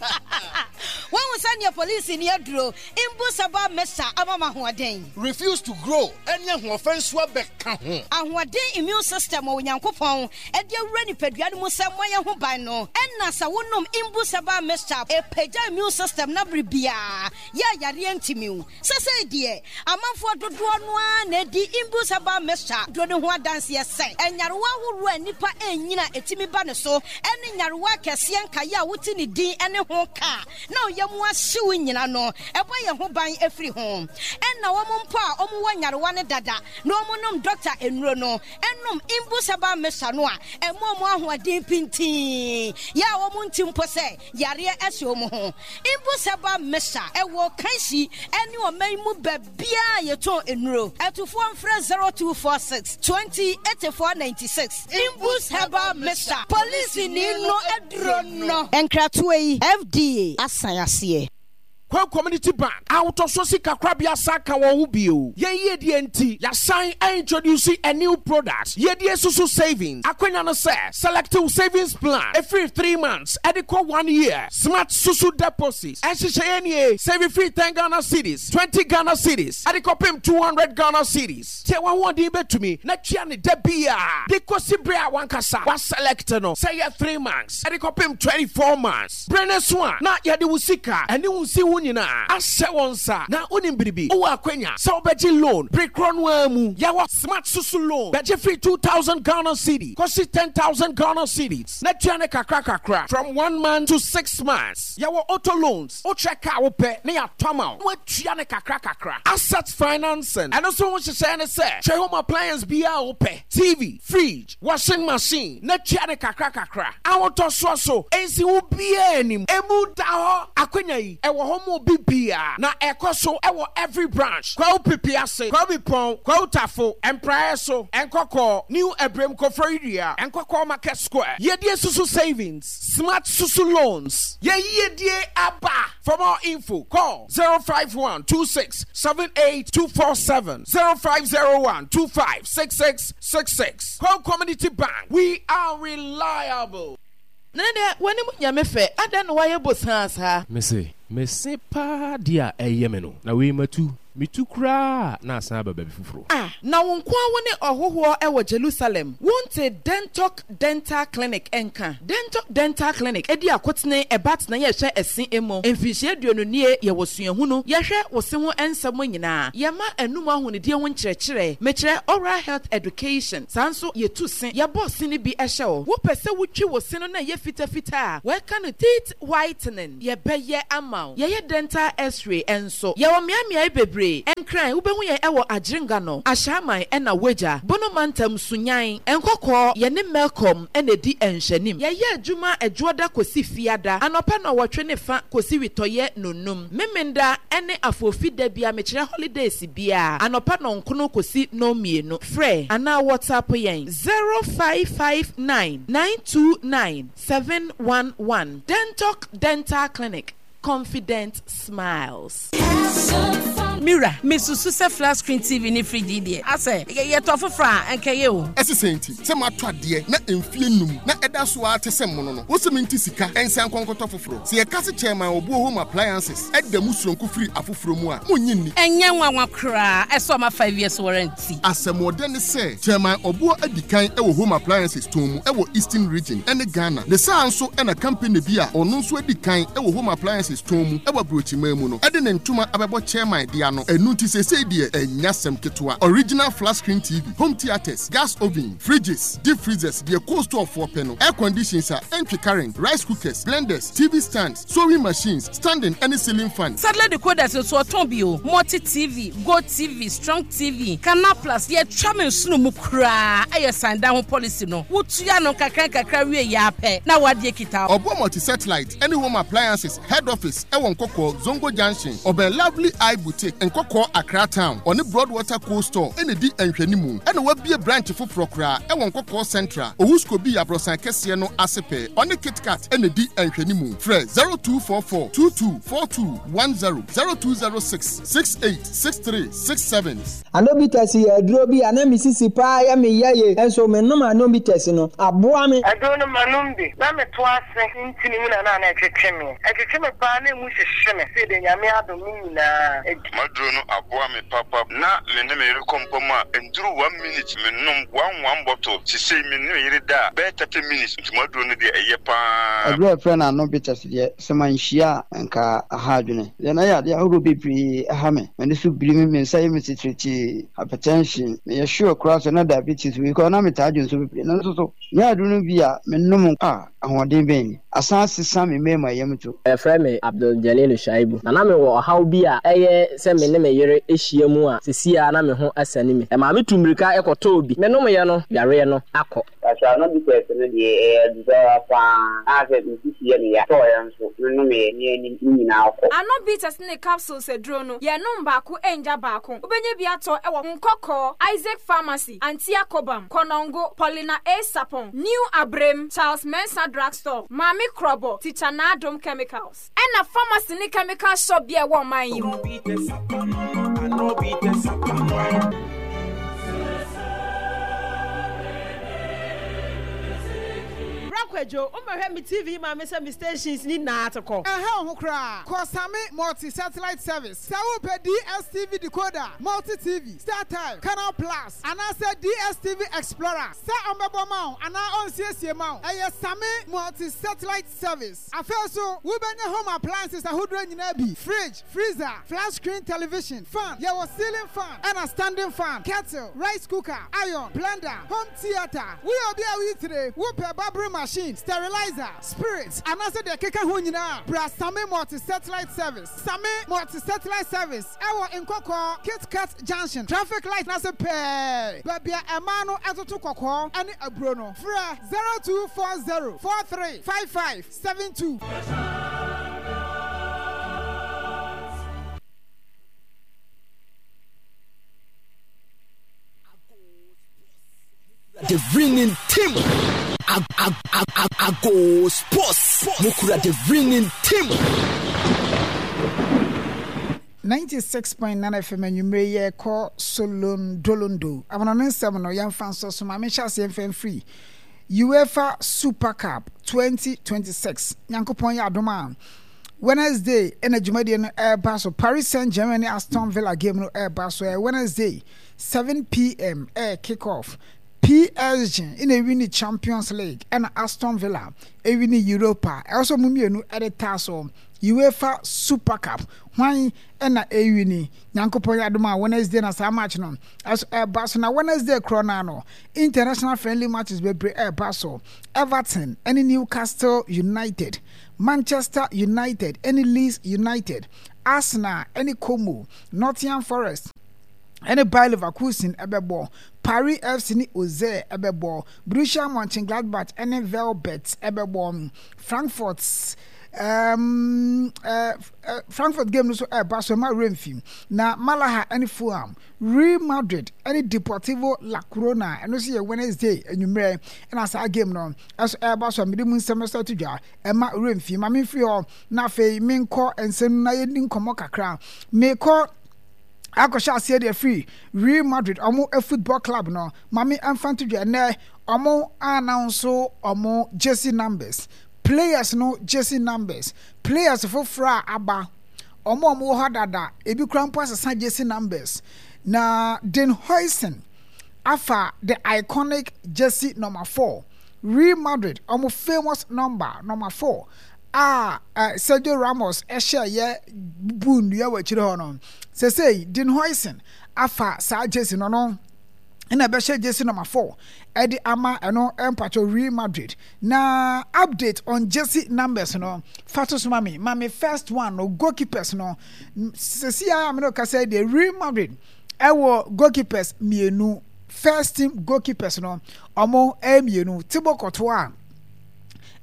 Wɔn sɛ nea polisi ni aduro Imbus Herbal Mixture ama ma ahoɔden. Refuse to grow ɛne ahoɔfɛ nso abɛka ho. Ahoɔden immune system wɔ Onyankopɔn ɛde awura nipadua no mu sɛ mmɔ ho ban no, ɛna sɛ wonom Imbus Herbal Mixture, ɛpagya immune system na bere biara yɛ ayareɛ ntimi wo. Sɛsɛi deɛ amanfoɔ dodoɔ no ara na ɛdi Imbus Herbal Mixture duro ne ho adanseɛ sɛ ɛnyarewa ahoroɔ a nnipa ɛnyina ɛtumi ba ne so, ɛne nyarewa akɛseɛ nkaeɛ a wote ne din ne ho kaa na ɔyɛ mu ahyew nyina no, ɛbɔ yɛn ho ban afiri ho. Ɛna wɔn mpo a wɔwɔ nyarewa no dada na wɔn nom dɔkta nnuro no, ɛnom Imbus Herbal Mixture no a, ɛmo wɔn ahoɔden pintin yɛ a wɔn nti mpo sɛ yareɛ ɛhyɛ wɔn ho. Imbus Herbal Mixture ɛwɔ Kanshi ɛne ɔman mu baabiara yɛtɔn nnuro. Ɛtufoɔ mfrɛ zero two four six twenty eighty-four ninety-six. Imbus Herbal Mixture, polisi ni no aduro no. Nkratoɔ yi, F D A asan aseɛ. Kwan Community Bank ahotɔso sika korabea sa ka wɔn ho bio. Yɛn yiedie nti yɛasan introduce a new product, Yiedie Susu Savings. Akwanya no sɛ select wo savings plan ɛfiri three months ɛde kɔ one year. Smart Susu Deposit ɛnhyehyɛeɛ nie: save firi ten Ghana cedis, twenty Ghana cedis ɛde kɔpem two hundred Ghana cedis. Tie, w'ahoɔden bɛtumi na tua ne da bia de kɔsi berɛ a wankasa waselect no, sɛ yɛ three months ɛde kɔpem twenty four months. Berɛ no so a na yɛde wo sika ɛne wo nsi ho nyinaa ahyɛ wɔn nsa. Na wonim biribi, wowɔ akwanya sɛ wobɛgye loan bere korɔ no ara mu. Yɛwɔ Smart Susu Loan, bɛgye firi two thousand Ghana cedi kɔsi ten thousand Ghana cedis na tua ne kakra kakra from one month to six months. Yɛwɔ auto loans, wokyerɛ kaa wopɛ ne yɛatɔ ama wo na woatua ne kakra kakra. Asset financing, ɛno nso ho nhyehyɛeɛ ne sɛ hwɛ home appliance biara a wopɛ, T V, fridge, washing machine, na tua ne kakra kakra. Ahotɔsoɔ so nsi wo biara anim, emu da hɔ. Akwanya yi ɛwɔ hɔ. mo obi bia na ɛkɔ so ɛwɔ every branch. Kwawu Pipiase, Kwawu Bipɔn, Kwawu Tafo, Mpraeɛ so, Nkɔkɔɔ, New Ebrem Koforidua, Nkɔkɔɔ Market Square. Yɛdie Susu Savings, Smart Susu Loans. Yɛyiedie aba. For more info, call zero five one two six seven eight two four seven zero five zero one two five six six six six. Kwawu Community Bank, we are reliable. Nene deɛ w'anim nyɛ me fɛ, adɛn na woayɛ bosaa saa? Mese, mese paa deɛ a ɛyɛ me no, na wei matu, metu koraa a na asan aba baabi foforɔ. Ah, na wo nko ara wo ne ɔhohoɔ wɔ Jerusalem, wonte Dentok Dental Clinic nka? Dentok Dental Clinic di akotene ɛba tenaeɛ ɛhwɛ ɛse emu. Mfinhyia aduonu nie yɛwɔ suahunu, yɛhwɛ wo se ho nsɛm nyinaa, yɛma anum ahonidie ho nkyerɛkyerɛ, mekyerɛ oral health education, saa nso yɛtu se, yɛbɔ se no bi hyɛ wo. Wopɛ sɛ wotwi wo se no na ɛyɛ fitafita a, wɔka no teeth whitening, yɛbɛyɛ ama wo. Yɛyɛ dental x-ray nso. Yɛwɔ mmeaemmeae bebree. Nkran, wobɛhu yɛn wɔ Adjiringanor, Ashaiman ɛna Wagya, Bono Mantam, Sunyani, Nkɔkɔɔ, yɛne Melcom na ɛdi nhwɛanim. Yɛyɛ adwuma Ɛdwoɔda kɔsi Fiada, anɔpa nnɔnwɔtwe ne fa kɔsi witɔyɛ nnɔnnum, Memenda ne Afoofi da biara, mekyerɛ holidays biara, anɔpa nnɔnkono kɔsi nnɔnmienu. Frɛ anaa WhatsApp yɛn zero five five nine nine two nine seven one one. Dentok Dental Clinic, confident smiles. Mira, mesusu sɛ flat screen T V ne fridge yi deɛ, asɛ yɛtɔ foforɔ a ɛnkɛyɛ o. Ɛsi sɛn nti sɛ matɔ adeɛ na mfie num na ɛda so ara te sɛ mmono no, wosi mi nti sika ɛnsan nkɔnkɔtɔ foforɔ? Sɛ yɛka se Chairman Obuo Home Appliances ɛda mu soronko firi afoforɔ mu a, monnye nni. Ɛnyɛ nwanwa koraa, ɛsɛ ɔma five years warranty. Asɛmɔdɛ ne sɛ Chairman Obuo adi kan ɛwɔ home appliances tɔn mu ɛwɔ Eastern Region ɛne Ghana. Ne saa nso ɛna company bi a ɔno nso adi kan ɛwɔ home appliances tɔn mu ɛwɔ aburokyiman mu no ɛde ne ntoma abɛbɔ chairman dea no. Ɛnu nti seesei deɛ ɛnya sɛm ketewa. Original flat screen T V, home theatres, gas oven, fridges, deep freezers, deɛ cold store foɔ pɛ no, air conditions a ɛntwe current, rice cookers, blenders, T V stands, sewing machines, standing ɛne ceiling fan. Satellite decoders nso ɔtɔn bi o. Multi T V, Go T V, Strong T V, Canal Plus. Yɛtwa me nsono mu koraa, ɛyɛ san da ho policy no, wotua no nkakra nkakra wie yɛ apɛ na wadeɛ kita. Ɔboɔ Multi Satellite ɛne Home Appliances head office ɛwɔ Nkɔkɔɔ Zongo Junction, ɔbɛn Lovely Eye Boutique, Nkɔkɔɔ Accra Town. Ɔne Broadwater Cold Store ɛna di nhwɛnimu. Ɛna wabie branch foforɔ koraa ɛwɔ Nkɔkɔɔ Central, Owusko bi aborɔsan kɛseɛ no ase pɛɛ. Ɔne KitKat ɛna di nhwɛnimu. Frɛ zero two four four two two four two one zero, zero two zero six six eight six three six seven. Anobitas yɛ aduro bi a na me sisi paa yɛ me yɛ ye, nso menom Anobitas no aboa me. Aduro no manom bi na meto ase ntini mu na na na ɛtwetwe me, ɛtwetwe me paa na emu hyehye me. Sɛ de Nyame adom ne nyinaa adi. Maduro no aboa me papa. Na me ne me yere kɔ mpa mu a, nduru one minute menom one one bottle. Sisei me ne me yere da a, bɛyɛ thirty minutes. Nti maduro no deɛ, ɛyɛ paa. Aduro a yɛfrɛ no Anobitas deɛ, sɛ manhyia a nka aha adwene deɛ na yɛ adeɛ ahodoɔ bebree ɛha me. M'ani so biri me, me nsa yɛ me titiritii, hypertension, meyɛ sure koraa sɛ na diabetes wei koraa na metaa dwo nso bebree, nanso so nyɛ aduro no bi a menom a ahoɔden bɛn ni asan sesa me mmarima yam to. Yɛfrɛ me Abdul Jalilu Shaibu, na na mewɔ ɔhaw bi a ɛyɛ sɛ me ne me yere ahyia mu a, seesei a na me ho asane me. Ɛmaa me tu mmirika kɔtɔɔ bi. Menomyɛ no, yareɛ no akɔ. Kasua no bi tɛs no deɛ, ɛyɛ adubaa paa a sɛ mesisi yɛ me ya tɔɔyɛ nso menomyɛ ne anim ne nyinaa kɔ. Ano Bitters ne capsules aduro no, yɛnom baako ngya baako. Wobɛnya bi atɔ wɔ Nkɔkɔɔ Isaac Pharmacy, Antia Kobam, Kɔnɔngo, Paulina A Sapon, New Abrem, Charles Mensa Drugstore, Maame Krɔbɔ, Teacher Naadom Chemicals, ɛna pharmacy ne chemical shop bi a ɛwɔ ɔman yi mu. Kwadwo, womɛhwɛ me T V ma me sɛ me stations ni nyinaa te kɔ. Ɛha wo ho koraa. Kɔ Same Multi Satellite Service. Sɛ wopɛ D S T V decoder, Multi T V, StarTime, Canal Plus anaasɛ D S T V Explorer sɛ ɔmbɛbɔ ma wo anaa ɔnsiesie ma wo, ɛyɛ Same Multi Satellite Service. Afei so wobɛnya home appliances ahodoɔ nyinaa bi: fridge, freezer, flat screen television, fan, yɛwɔ ceiling fan ɛna standing fan, kettle, rice cooker, iron, blender, home theatre. Woyɛ obi a woyi tire, wopɛ barbering machine, sterilizer, spirit anaasɛ deɛ ɛkeka ho nyinaa, bra Same Multi Satellite Service. Same Multi Satellite Service ɛwɔ Nkɔkɔɔ KitKat Junction, traffic light n'ase pɛɛ, baabi a ɛmaa no ɛtoto kɔkɔɔ ɛne aburo no. Frɛ zero two four zero four three five five seven two. the winning team. Ag ag ag ag ago sports. Mukura the winning team. ninety six point nine F M, anwummere yɛkɔ Solondolondo amanɔne nsɛm no, yɛmfa nso so ma menhyɛ aseɛ mfa mfiri UEFA Super Cup twenty twenty-six. Nyankopɔn yɛ adom a, Wednesday ɛna dwumadie no ɛreba so. Paris Saint Germain ne Aston Villa game no ɛreba so. Ɛyɛ Wednesday seven P M ɛyɛ kick off. P S G ɛna ewi ne Champions League, ɛna Aston Villa ewi ne Europa. Ɛwɔ sɛ ɔmo mmienu ɛde taa so UEFA Super Cup, hwan ɛna ewi ni? Nyankopɔn yɛ adom a, Wednesday na saa match no ɛso ɛba so. Na Wednesday korɔ naa no, international friendly matches bebree ɛba so. Everton ɛne Newcastle United, Manchester United ɛne Leeds United, Arsenal ɛne Como, Nottingham Forest ɛne Bayer Leverkusen ɛbɛbɔ, Paris F C ne Auxerre ɛbɛbɔ, Borussia Mönchengladbach ɛne Velbert ɛbɛbɔ, Frankfurt um, uh, uh, Frankfurt game no so ɛreba so, ɛma Renfi na Malaga ɛne Fulham, Real Madrid ɛne Deportivo La Corona. Ɛno nso yɛ Wednesday anwummerɛ ɛna saa game no ɛso ɛreba so a mede mu nsɛm nso ato dwa. Ɛma Renfi ma memfiri hɔ na afei menkɔ nsɛm na yɛdi nkɔmmɔ kakra. Mekɔ akɔhyɛ aseɛ deɛ firi Real Madrid, ɔmo football club no. Maame ɛmfa nto dwa, ɛnɛ ɔmo announce ɔmo jersey numbers, players no jersey numbers, players foforɔ a aba, ɔmo a ɔmo wɔ hɔ dada, ebi kura mpo asesa jersey numbers. Na Dean Huijsen afa the iconic jersey number four, Real Madrid ɔmo famous number, number four a uh, Sergio Ramos ɛhyɛ yɛ bu nnua wɔ akyire hɔ no. Sesei Dean Huijsen afa saa jersey no no ɛna ɛbɛhyɛ jersey number four ɛde ama ɛno mpatwɔ Real Madrid. Na update on jersey numbers no, fa to so ma me ma me first one no, goalkeepers no. Sesi a me no kasa deɛ, Real Madrid ɛwɔ goalkeepers mmienu. First team goalkeepers no, ɔmo ɛyɛ mmienu, Thibaut Courtois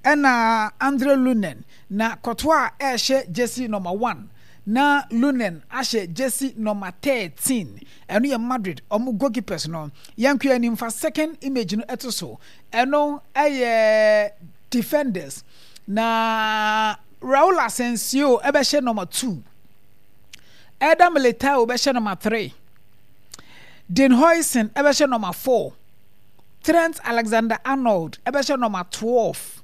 ɛna Andre Lunin. Na Courtois ɛrehyɛ jersey number one na Lunin ahyɛ jersey number thirteen. Ɛno yɛ Madrid ɔmo goalkeepers no. Yɛn kɔ anim, fa second image no ɛto so. Ɛno ɛyɛ defenders. Na Raul Asensio ɛbɛhyɛ number two, Eder Militao bɛhyɛ number three, Dean Huijsen ɛbɛhyɛ number four, Trent Alexander-Arnold ɛbɛhyɛ number twelve,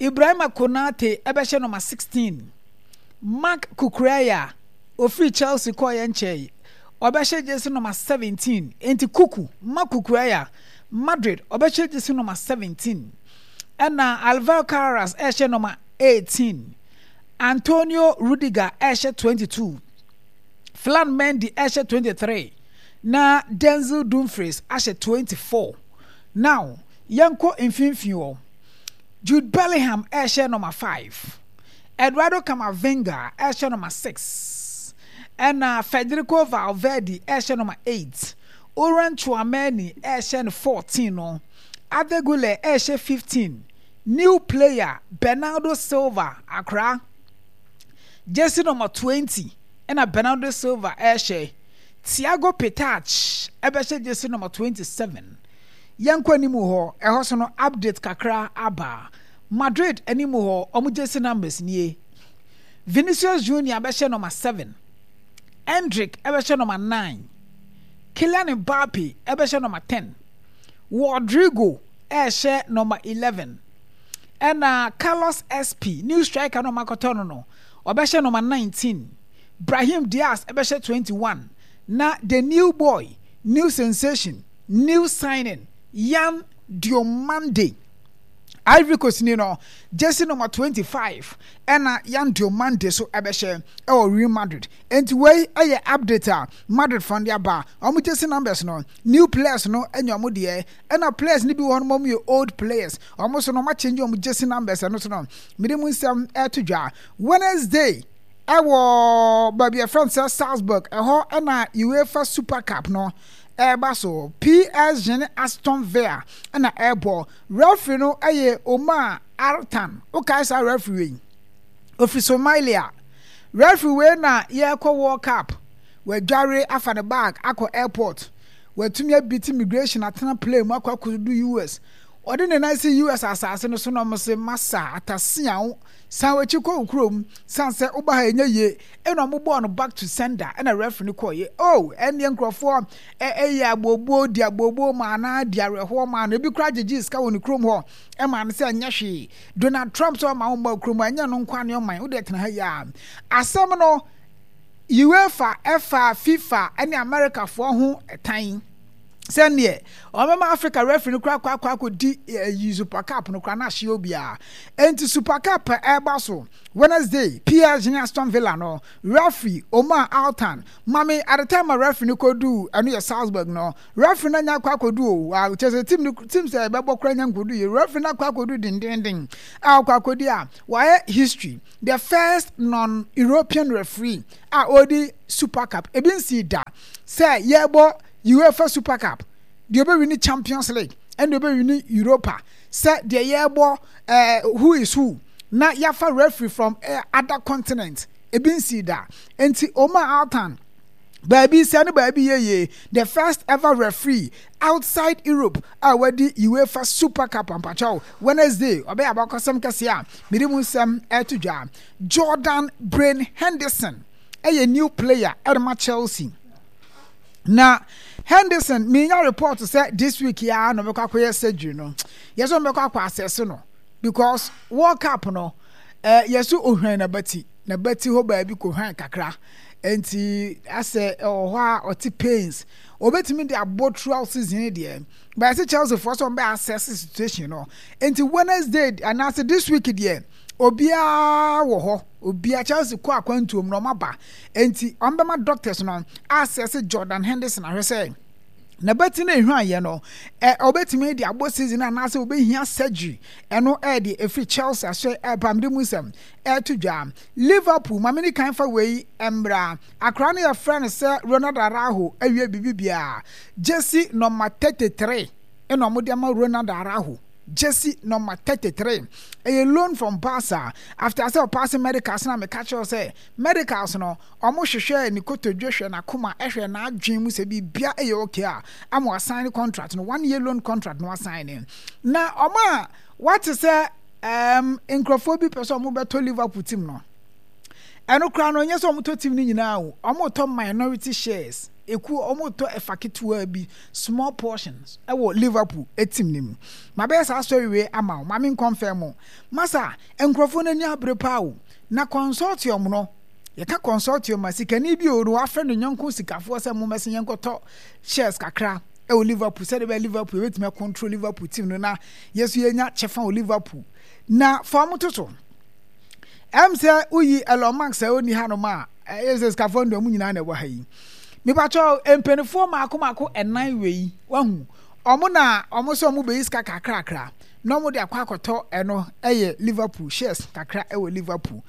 Ibrahima Konate ɛbɛhyɛ number sixteen, Marc Cucurella ofiri Chelsea kɔɔ yɛn nkyɛn, ɔbɛhyɛ jersey number seventeen. Nti Kuku, Marc Cucurella, Madrid, ɔbɛhyɛ jersey number seventeen, ɛna Alvaro Carreras ɛhyɛ number eighteen, Antonio Rudiger ɛhyɛ twenty-two, Ferland Mendy ɛhyɛ twenty-three, na Denzel Dumfries ahyɛ twenty-four. Now yɛnkɔ mfimfini hɔ. Jude Bellingham ɛhyɛ number five, Eduardo Camavinga ɛhyɛ number six, ɛna Federico Valverde ɛhyɛ number eight, Aurelien Tchouameni ɛhyɛ no fourteen no, Arda Güler ɛhyɛ fifteen, new player Bernardo Silva akra jersey number twenty ɛna Bernardo Silva ɛhyɛ, Thiago Pitarch ɛbɛhyɛ jersey number twenty-seven. Yɛnkɔ anim hɔ. Ɛhɔ so no, update kakra aba. Madrid anim hɔ, ɔmo jersey numbers nie: Vinicius Junior bɛhyɛ number seven, Endrick ɛbɛhyɛ number nine, Kylian Mbappe ɛbɛhyɛ number ten, Rodrigo ɛhyɛ number eleven, ɛna Carlos S P, new striker no ɔmo akɔtɔ no no ɔbɛhyɛ number nineteen, Brahim Diaz ɛbɛhyɛ twenty-one, na the new boy, new sensation, new signing, Yan Diomande, Ivory Coast ni no, jersey number twenty-five ɛna Yan Diomande so ɛbɛhyɛ ɛwɔ Real Madrid. Nti wei ɛyɛ update a Madrid fund aba, wɔn jersey numbers no, new players no ɛnya wɔn deɛ, ɛna players no bi wɔ hɔ no, wɔn yɛ old players, wɔn so no wɔn akyɛnje wɔn jersey numbers. Ɛno so no, mede mu nsɛm ɛto dwa. Wednesday ɛwɔ baabi a ɛfrɛ no sɛ Salzburg, ɛhɔ ɛna UEFA Super Cup no ɛreba so. P S G ne Aston Villa ɛna ɛrebɔ. Referee no ɛyɛ Omar Artan. Wokae saa referee wei, ofiri Somalia. Referee wei na yɛrekɔ World Cup, wadware afa ne bag akɔ airport, Watumi abeat immigration atena plane mu akɔ akɔdu U S. Ɔde ne nan si U S asase no so na ɔmo se, "Masa atasia wo, san w'akyi kɔ wo kurom, san sɛ woba ha ɛnyɛ yie." Ɛna ɔmo bɔɔ no back to sender, ɛna referee no kɔɔ yie. Oh, ɛneɛ nkurɔfoɔ ɛyɛ abooboo di abooboo maa na di awerɛhoɔ maa no. Ebi koraa gyegye sika wɔ ne kurom hɔ ɛma no sɛ ɛnyɛ hwee. Donald Trump sɛ ɔma wo mma kurom a ɛnyɛ no nkwa ne ɔman wode tena ha yi a asɛm no. UEFA ɛfa FIFA ɛne Americafoɔ ho tan sɛneɛ ɔmɛma Africa referee no koraa kɔ akɔ akɔdi ɛyi Super Cup no koraa na ahyɛ obiara. Nti Super Cup ɛreba so Wednesday, P S G ne Aston Villa no, referee Omar Altan mami. At the time a referee no kɔdu, ɛno yɛ Salzburg no, referee no anya akɔ akɔdu o a kyerɛ sɛ team no team sɛ ɛbɛbɔ koraa nya nkɔdu yɛ referee no akɔ akɔdu dendenden a ɔkɔ akɔdi a wayɛ history, the first non-European referee a ɔdi Super Cup. Ebi nsi da sɛ yɛbɔ UEFA Super Cup deɛ ɔbɛwi ne Champions League ɛna ɔbɛwi ne Europa sɛ deɛ yɛbɔ ɛɛ who is who na yɛafa referee from uh, other continent. Ebi nsi da. Nti Omar Altan baabi sɛ no baabi yeye, the first ever referee outside Europe a wadi UEFA Super Cup. Ampakyɛw, Wednesday ɔbɛyɛ abakɔsɛm kɛseɛ a mede mu nsɛm ɛto dwa. Jordan Brain Henderson ɛyɛ new player ɛde ma Chelsea. Na Henderson, minya report sɛ this week ya na ɔbɛkɔ akɔyɛ surgery no. Yɛsɛ ɔbɛkɔ akɔ assess no because World Cup no ɛɛ yɛsɛ ohwɛn n'abati n'abati hɔ baabi kɔ kakra, nti asɛ ɛwɔ hɔ a ɔte pains. Obetumi de abɔ throughout season deɛ, but ɛsɛ Chelsea foɔ sɛ ɔbɛ assess situation no. Nti Wednesday anaasɛ this week deɛ, obiara wɔ hɔ, obiara Chelsea kɔ akwantuom na ɔmo aba, nti ɔmo bɛma doctors no assess Jordan Henderson ahwɛ sɛ n'abati no ehwan yɛ no ɛ ɔbɛtumi de abɔ season anaasɛ ɔbɛhia surgery. Ɛno ɛɛde efiri Chelsea ahyɛ ɛpamde mu nsɛm ɛɛto dwa. Liverpool, maame ni kan fa wei mmra. Akora no yɛfrɛ no sɛ Ronald Araujo awie biribi biara. Jersey number thirty three ɛna ɔmo de ama Ronald Araujo. Jersey number thirty three ɛyɛ loan from Barca after sɛ ɔpass medicals. Na meka kyerɛw sɛ medicals no, ɔmo hwehwɛ ne kotodwe, hwɛ n'akoma, ɛhwɛ n'adwen mu sɛ biribia ɛyɛ okay a ama wasign ne contract no, one year loan contract no wasign ne. Na ɔmo a wate sɛ ɛɛm nkurɔfoɔ bi pɛ sɛ ɔmo bɛtɔ Liverpool team no, ɛno koraa no, ɛnyɛ sɛ ɔmo tɔ team no nyinaa o. Ɔmo tɔ minority shares eku, ɔmo tɔ ɛfa ketewa bi, small portions ɛwɔ Liverpool team no mu. Ma bɛyɛ saa story wei ama o, maame nkɔnfɛn mu masa. Nkurɔfoɔ no ani abere paa o. Na consortium no, yɛka consortium a, sikani bi o no wafrɛ ne nyɔnko sikafoɔ sɛ mo mɛsɛ yɛnkɔtɔ shares kakra ɛwɔ Liverpool sɛde bɛyɛ Liverpool yɛbɛtumi control Liverpool team no na yɛso yɛnya kyɛfa wɔ Liverpool. Na fa ɔmo toto ɛm sɛ woyi Elon Musk a ɔnni hanom a, ɛyɛ sɛ sikafoɔ no deɛ ɔmo nyinaa na ɛwɔ ha yi. Mipakyɛw, mpanimfoɔ mako mako ɛnan wei wahu ɔmo na ɔmo sɛ ɔmo bɛyi sika kakrakra na ɔmo de akɔ akɔtɔ ɛno ɛyɛ Liverpool shares kakra ɛwɔ Liverpool.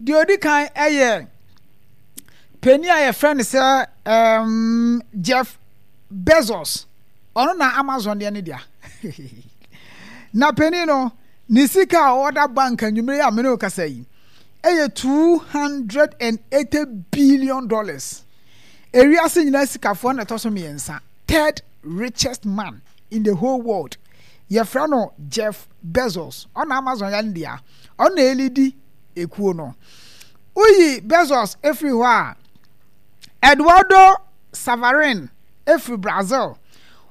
Deɛ odi kan ɛyɛ panin a yɛfrɛ no sɛ ɛɛm Jeff Bezos. Ɔno na Amazon deɛ ne dea. Na panin no ne sika a ɔda bank anwummere a mene kasa yi ɛyɛ two hundred and eighty billion dollars. Ewiase nyinaa sikafoɔ na ɛtɔ so mmiɛnsa, third richest man in the whole world, yɛfrɛ no Jeff Bezos. Ɔna Amazon yɛ ne dea, ɔno na ɛlead ekuo no. Woyi Bezos efiri hɔ a, Eduardo Saverin efiri Brazil.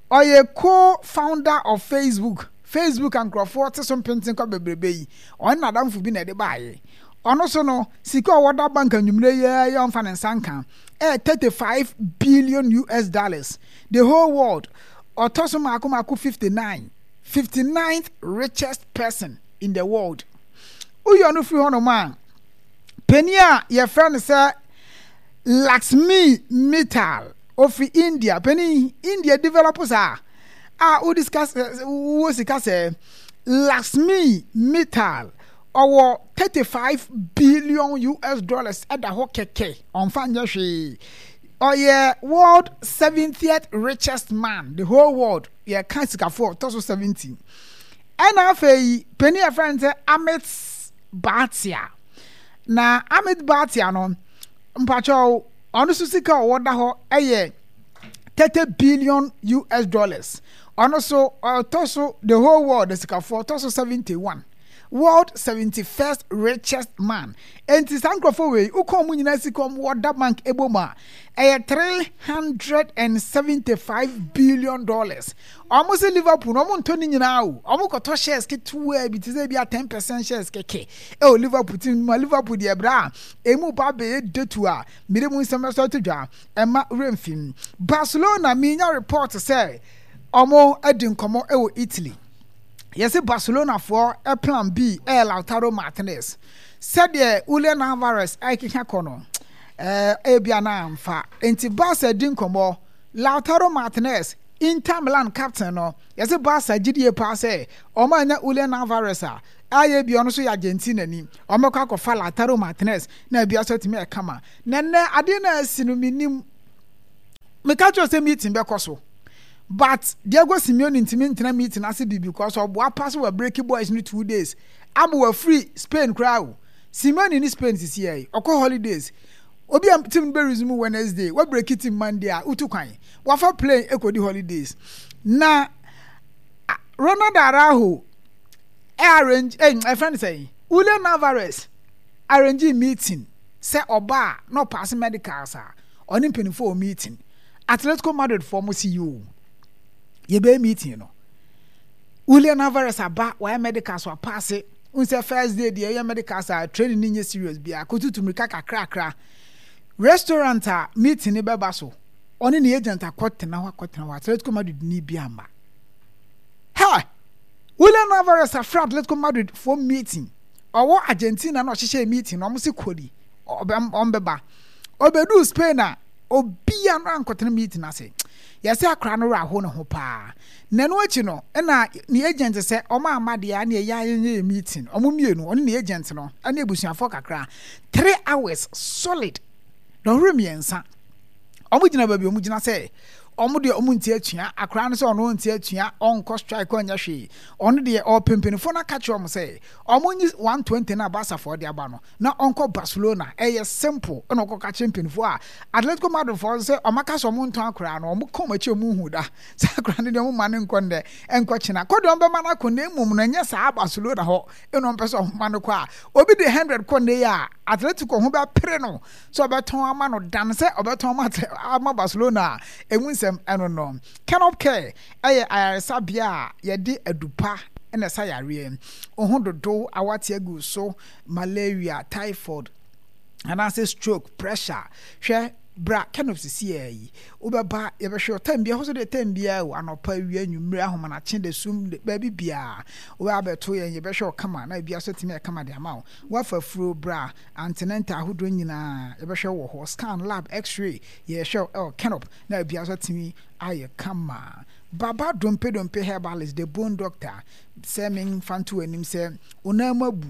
Ɔyɛ co-founder of Facebook. Facebook a nkurɔfoɔ te so mpenten kɔ bebrebe yi, ɔne n'adamfo bi na ɛde baayɛ. Ɔno so no, sika a ɔwɔ da bank anwummerɛ yi ara yɛ ɔmfa ne nsa nka ɛyɛ thirty five billion U S dollars. The whole world, ɔtɔ so mako mako fifty nine, fifty ninth richest person in the world. Woyi ɔno firi hɔnom a, panin a yɛfrɛ no sɛ Laxmi Mittal ofiri India. Panin India develop saa a wodi sika, wowɔ sika sɛ Laxmi Mittal, ɔwɔ thirty five billion U S dollars ɛda hɔ kɛkɛ, ɔnfa nyɛ hwee. Ɔyɛ world seventieth richest man, the whole world. Yɛka sikafoɔ, ɔtɔ so seventy. Ɛna afei panin yɛfrɛ no sɛ Amit Bhatia. Na Amit Bhatia no, mpakyɛw, ɔno nso sika a ɔwɔ da hɔ ɛyɛ thirty billion U S dollars. Ɔno so ɔtɔ so, the whole world sikafoɔ, ɔtɔ so seventy one, world seventy first richest man. Nti saa nkurɔfoɔ wei, wokɔn mu nyinaa, sika ɔmo wɔ da bank ebo mu a, ɛyɛ three hundred and seventy five billion dollars. Ɔmo sɛ Liverpool no, ɔmo ntɔ ne nyinaa o, ɔmo kɔtɔ shares ketewa bi te sɛ ebi a ten percent shares kɛkɛ ɛwɔ Liverpool team mu. A Liverpool deɛ, ɛbrɛ a emu ba abɛyɛ detu a mmiri mu nsɛm ɛsɔ to dwa, ɛma remfim. Barcelona, minya report sɛ ɔmo adi nkɔmɔ ɛwɔ Italy. Yɛsɛ Barcelona foɔ plan B ɛyɛ Lautaro Martinez. Sɛdeɛ Julian Alvarez ɛkeka kɔ no, ɛɛ ebi ana amfa nti Barca di nkɔmɔ. Lautaro Martinez, Inter Milan captain no, yɛsɛ Barca gyidie paa sɛ ɔmo anya Julian Alvarez a ayɛ bi, ɔno nso yɛ Argentina ni, ɔmo kɔ akɔfa Lautaro Martinez na ebi aso atumi ɛkama. Na nnɛ adeɛ no a asi no, minim meka kyerɛ sɛ meeting bɛkɔ so, but Diego Simeone ntumi ntena meeting ase bi because ɔboa pa so wɔ breaking boys no two days ama wafiri Spain koraa o. Simeone ne Spain sisi yɛ ɔkɔ holidays. Obi a team no bɛ resume Wednesday, wa break team Monday a wotu kwan wafa plane ekodi holidays. Na Ronald Araujo ɛ arrange ɛ ɛfɛn sɛ Julian Alvarez arrange meeting sɛ ɔbaa na ɔpaase medicals a, ɔne mpanimfoɔ wɔ meeting. Atletico Madrid foɔ mo si yi o, yɛbɛyɛ meeting no. Julian Alvarez aba, wayɛ medicals, wapaase. N sɛ first day deɛ, ɛyɛ medicals a, training ni nyɛ serious bia, kotutu mirika kakrakra. Restaurant a meeting ni bɛba so, ɔne ne agent akɔtena hɔ akɔtena hɔ, Atletico Madrid ni bi ama ha. Julian Alvarez afra Atletico Madrid for meeting. Ɔwɔ Argentina na ɔhyehyɛ meeting na ɔmo si kɔdi ɔmbɛba. Ɔbɛduu Spain a, obia no ankɔtena meeting ase. Yɛsɛ akora no werɛ aho ne ho paa. Na ɛno akyi no, ɛna ne agent sɛ ɔmo ama deɛ a ne ɛyɛ ayɛnyɛ yɛ meeting. Ɔmo mmienu, ɔne ne agent no ɛne abusuafoɔ kakra, three hours solid, dɔnhwere mmiɛnsa, ɔmo gyina baabi ɔmo gyina sɛ ɔmo deɛ ɔmo nti atua akora no sɛ ɔno nti atua, ɔnkɔ strike, ɔnyɛ hwee. Ɔno deɛ ɔpɛ mpanyinfoɔ no aka kyerɛ ɔmo sɛ ɔmo nyi one twenty na Barcafoɔ de aba no na ɔnkɔ Barcelona. Ɛyɛ simple. Ɛna ɔkɔ ka kyerɛ mpanyinfoɔ a Atletico Madrid foɔ sɛ ɔmo aka sɛ ɔmo ntɔn akora no. Ɔmo kɔn akyi, ɔmo hu da saa akora no deɛ, ɔmo ma no nkɔ ndɛ nkɔ kyena kɔ deɛ, ɔmo bɛma no akɔ. Na emom no, ɛnyɛ saa Barcelona hɔ ɛna ɔmo pɛ sɛ ɔmo ma no kɔ a, obi de hundred kɔ ne yɛ a, Atletico ho bɛpere no sɛ ɔbɛtɔn ama no dan sɛ ɔbɛtɔn ama ama Barcelona a. Emu nsɛm ɛno no. Kenop Care ɛyɛ ayaresabea a yɛde adupa ɛna ɛsa yareɛ. Ohun dodo awate agu so, malaria, typhoid anaasɛ stroke, pressure, hwɛ, bra Kenop sisi yɛ yi, wobɛba, yɛbɛhwɛ time bia hɔ so deɛ, time bia o, anɔpa, awia, anwummerɛ, ahomanakye, de sum baabi biara wobɛ abɛto yɛn, yɛbɛhwɛ ɔkama na ebi aso tumi ɛkama de ama wo. Wafa furo, bra antenatal ahodoɔ nyinaa yɛbɛhwɛ wɔ hɔ, scan, lab, X-ray, yɛhwɛ ɛwɔ Kenop na ebi aso tumi ayɛ kama. Baba Dompe Dompe Herbalist, the bone doctor, sɛ memfa nto anim sɛ wo abu,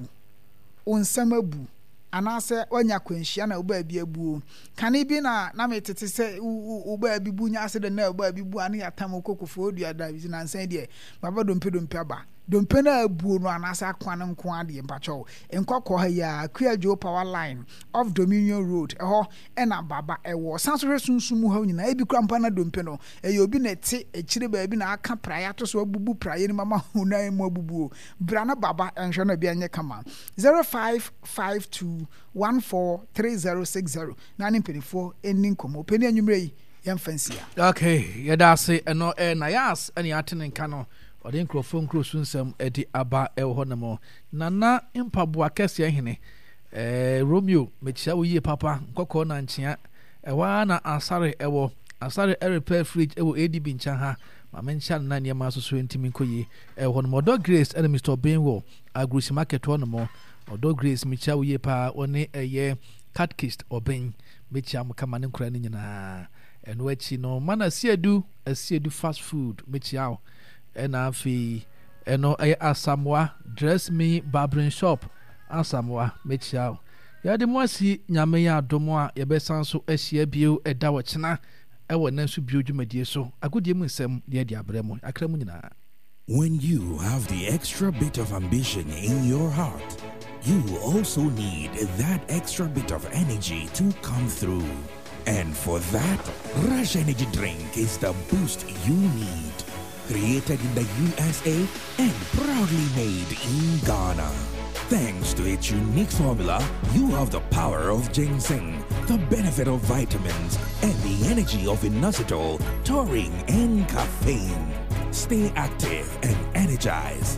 wo nsɛm abu, anaasɛ wanya akwanhyia na wo baabi abuo. Kane bi na na metete sɛ wo baabi bu nya accident na wo baabi bu a, ne yɛatam wo kɔkɔfoɔ dua da bi. Nansan deɛ, Baba Dompe Dompe aba. Dompe no abuo no anaasɛ akwa no nko adeɛ, mpakyɛw, nkɔkɔ ha yi a, Kuadwo Power Line off Dominion Road, ɛhɔ ɛna Baba ɛwɔ. San so hwɛ sunsum mu ha nyinaa. Ebi kura mpa na dompe no ɛyɛ obi na ɛte akyire baabi na aka praeɛ ato so, abubu praeɛ no mu ama wo nan mu abubuo. Bra na Baba ɛnhwɛ no, ebi anyɛ kama. zero five five two one four three zero six zero na ne mpanimfoɔ ɛni nkɔmmɔ. Panin, anwummerɛ yi yɛmfa nsia. Okay, yɛda ase. Ɛno ɛ na yas ɛne ate ne nka no, ɔde nkurɔfoɔ nkuro so nsɛm ɛde aba ɛwɔ hɔ nom. Nana Mpaboa kɛseɛ hene ɛɛ Romeo, mekyia wo yie papa. Nkɔkɔɔ na nkyea ɛhɔ ara na Asare ɛwɔ Asare ɛrepair fridge ɛwɔ A D B nkyɛn ha. Maame nkyɛn no na nneɛma nso so ntumi nkɔ yie ɛwɔ hɔ nom. Ɔdɔ Grace ɛne Mister Obeng wɔ Agurusi Market hɔ nom. Ɔdɔ Grace, mekyia wo yie paa. Wɔne ɛyɛ Catechist Obeng, mekyia mo kama ne nkora no nyinaa. Ɛno akyi no, mana Asiedu, Asiedu Fast Food, mekyia wo. Ɛna afei ɛno ɛyɛ Asamoa Dress Me Barbering Shop, Asamoa, mekyia wo. Yɛde mo asi. Nyame yɛ adom a, yɛbɛsan so ahyia bio ɛda wɔkyena ɛwɔ ɛnɛ nso bio dwumadie so, agodie mu nsɛm deɛ de abrɛ mo akra mu nyinaa. When you have the extra bit of ambition in your heart, you also need that extra bit of energy to come through. And for that, Rush Energy Drink is the boost you need. Created in the U S A and proudly made in Ghana. Thanks to its unique formula, you have the power of ginseng, the benefit of vitamins, and the energy of inositol, taurine, and caffeine. Stay active and energized.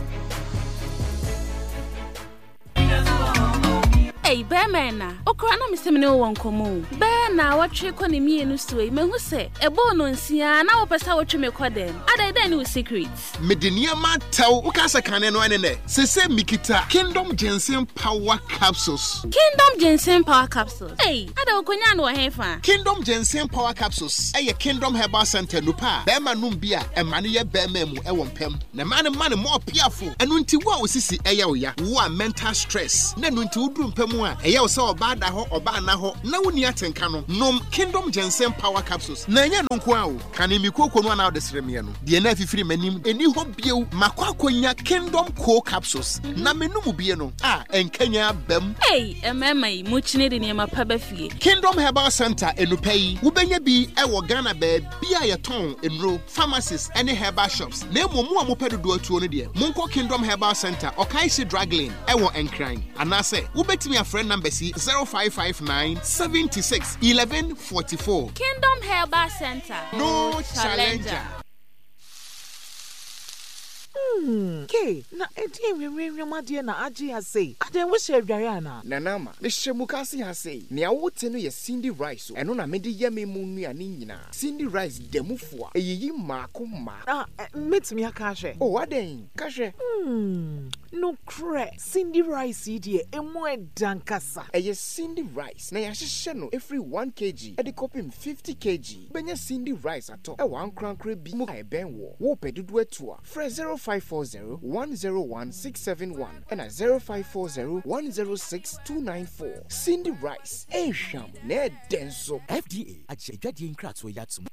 Ei, bɛrima na okura na mesɛ me ne wo wɔ nkɔmmɔ o. Bɛɛ na wɔtwe kɔ ne mmienu so yi, mahu sɛ ɛbɔɔ no nsia na wopɛ sɛ wotwe me kɔ dɛm. Adɛn, dɛn ne wo secret? Mede nneɛma atɛw woka sɛ kane no ɛne nɛ sese mikita Kingdom Ginseng Power Capsules. Kingdom Ginseng Power Capsules? Ei, ada wokonya no wɔ he fa? Kingdom Ginseng Power Capsules ɛyɛ Kingdom Herbal Center nupa a bɛrima nom bi a ɛma no yɛ bɛrima mu ɛwɔ mpɛm na ɛma no ma no mɔ ɔpiafo. Ɛno nti wo a osisi ɛyɛ wo ya, wo a mental stress na ɛno nti woduru mpɛ mu a ɛyɛ wo sɛ ɔbaa da hɔ, ɔbaa na hɔ na wonni atenka no, nom Kingdom Ginseng Power Capsules. Na ɛnyɛ no nko a o, kane mi kooko no anaa wode sere meɛ no deɛ na afifiri m'anim ɛni hɔ bio. Makɔ akɔnya Kingdom Co Capsules na menom bie no a ɛnkanya abam. Ei, mmarima yi mokyini de nneɛma pa ba fie. Kingdom Herbal Center enupɛ yi, wobɛnya bi ɛwɔ Ghana baabi a yɛtɔn nnuro, pharmacies ne herbal shops. Na mmom mo a mopɛ dodoɔ atuo no deɛ, monkɔ Kingdom Herbal Center, Ɔkaehye Drug Lane ɛwɔ Nkran, anaasɛ wobɛtumi afrɛ numbers yi: zero five five nine seventy-six eleven forty-four. Kingdom Herbal Center. No challenger. Hmm, ke na ɛdeɛ nwenwenwem adeɛ na agye ha sei? Adɛn, wohyɛ adware anaa? Nana Ama, mehyɛ mu kase ha sei. Nea wote no yɛ Cindy Rice o. Ɛno na mede yɛ me mu nnuane nyinaa. Cindy Rice da mu fo a ɛyiyi mmaako mmaako. Ah, mɛtumi aka ahwɛ? O, adɛn, ka hwɛ. Hmm, nokorɛ, Cindy Rice yi deɛ, emu ɛda nkasa. Ɛyɛ Cindy Rice na yɛahyehyɛ no ɛfiri one kilogram ɛde kɔpem fifty kilograms. Wobɛnya Cindy Rice atɔ ɛwɔ ankorankora bi mu a ɛbɛn wɔ. Wopɛ dodoɔ atu a, frɛ zero five four zero one zero one six seven one ɛna zero five four zero one zero six two nine four. Cindy Rice, ɛnhwam na ɛdɛ nso. F D A agye adwadeɛ nkratoɔ yi atom.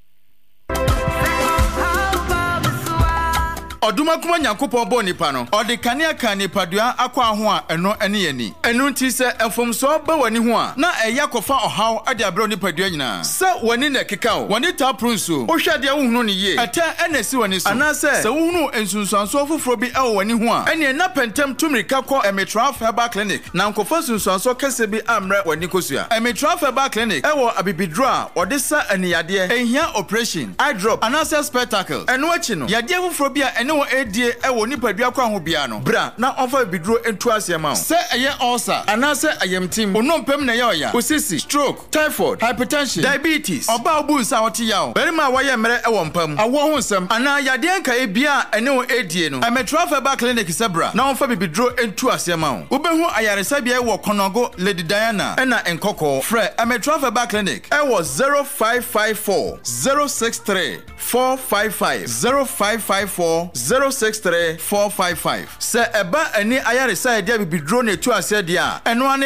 Ɔdomakoma Nyankopɔn bɔɔ nipa no, ɔde kanea ka nipadua akɔ aho a ɛno ne yɛni. Ɛno nti sɛ mfomsoɔ ba w'ani ho a, na ɛyɛ akɔfa ɔhaw de abrɛ nipadua nyinaa. Sɛ w'ani na ɛkeka wo, w'ani taa poro nsuo, wohwɛ adeɛ wohunu no yie, ɛtɛ ɛna ɛsi w'ani so, anaasɛ sɛ wohunu nsunsuansoɔ foforɔ bi ɛwɔ w'ani ho a, ɛneɛ na pɛntɛm tu mmirika kɔ Emitraf Herbal Clinic na nkɔfa nsunsuansoɔ kɛseɛ bi ammrɛ w'ani kosua. Emitraf Herbal Clinic ɛwɔ abibiduro a wɔde sa aniyadeɛ, ɛnhia operation, eye drop anaasɛ spectacle. Ɛno akyi no, yadeɛ foforɔ bi a ɛne wɔn ɛredie ɛwɔ nipadua kwan ho biara no, bra na ɔmfa bibiduro ntu aseɛ ma wo. Sɛ ɛyɛ ulcer anaasɛ ayamtim, onompem na ɛyɛ ɔya, osisi, stroke, typhoid, hypertension, diabetes, ɔbaa obu nsa a ɔte yaw, barima a wayɛ mmerɛ ɛwɔ mpa mu, awoɔ ho nsɛm anaa yadeɛ nkaeɛ bia a ɛne wɔn ɛredie no, Ɛmetraf Herbal Clinic sɛ bra na ɔmfa bibiduro ntu aseɛ ma wo. Wobɛhu ayaresabea wɔ Kɔnɔgo, Lady Diana ɛna Nkɔkɔɔ. Frɛ Ɛmetraf Herbal Clinic ɛwɔ zero five five four zero six three four five five, zero five five four zero six three four five five. Sɛ ɛba ani ayaresa a yɛde abibiduro na etu aseɛ deɛ a, ɛno ara ne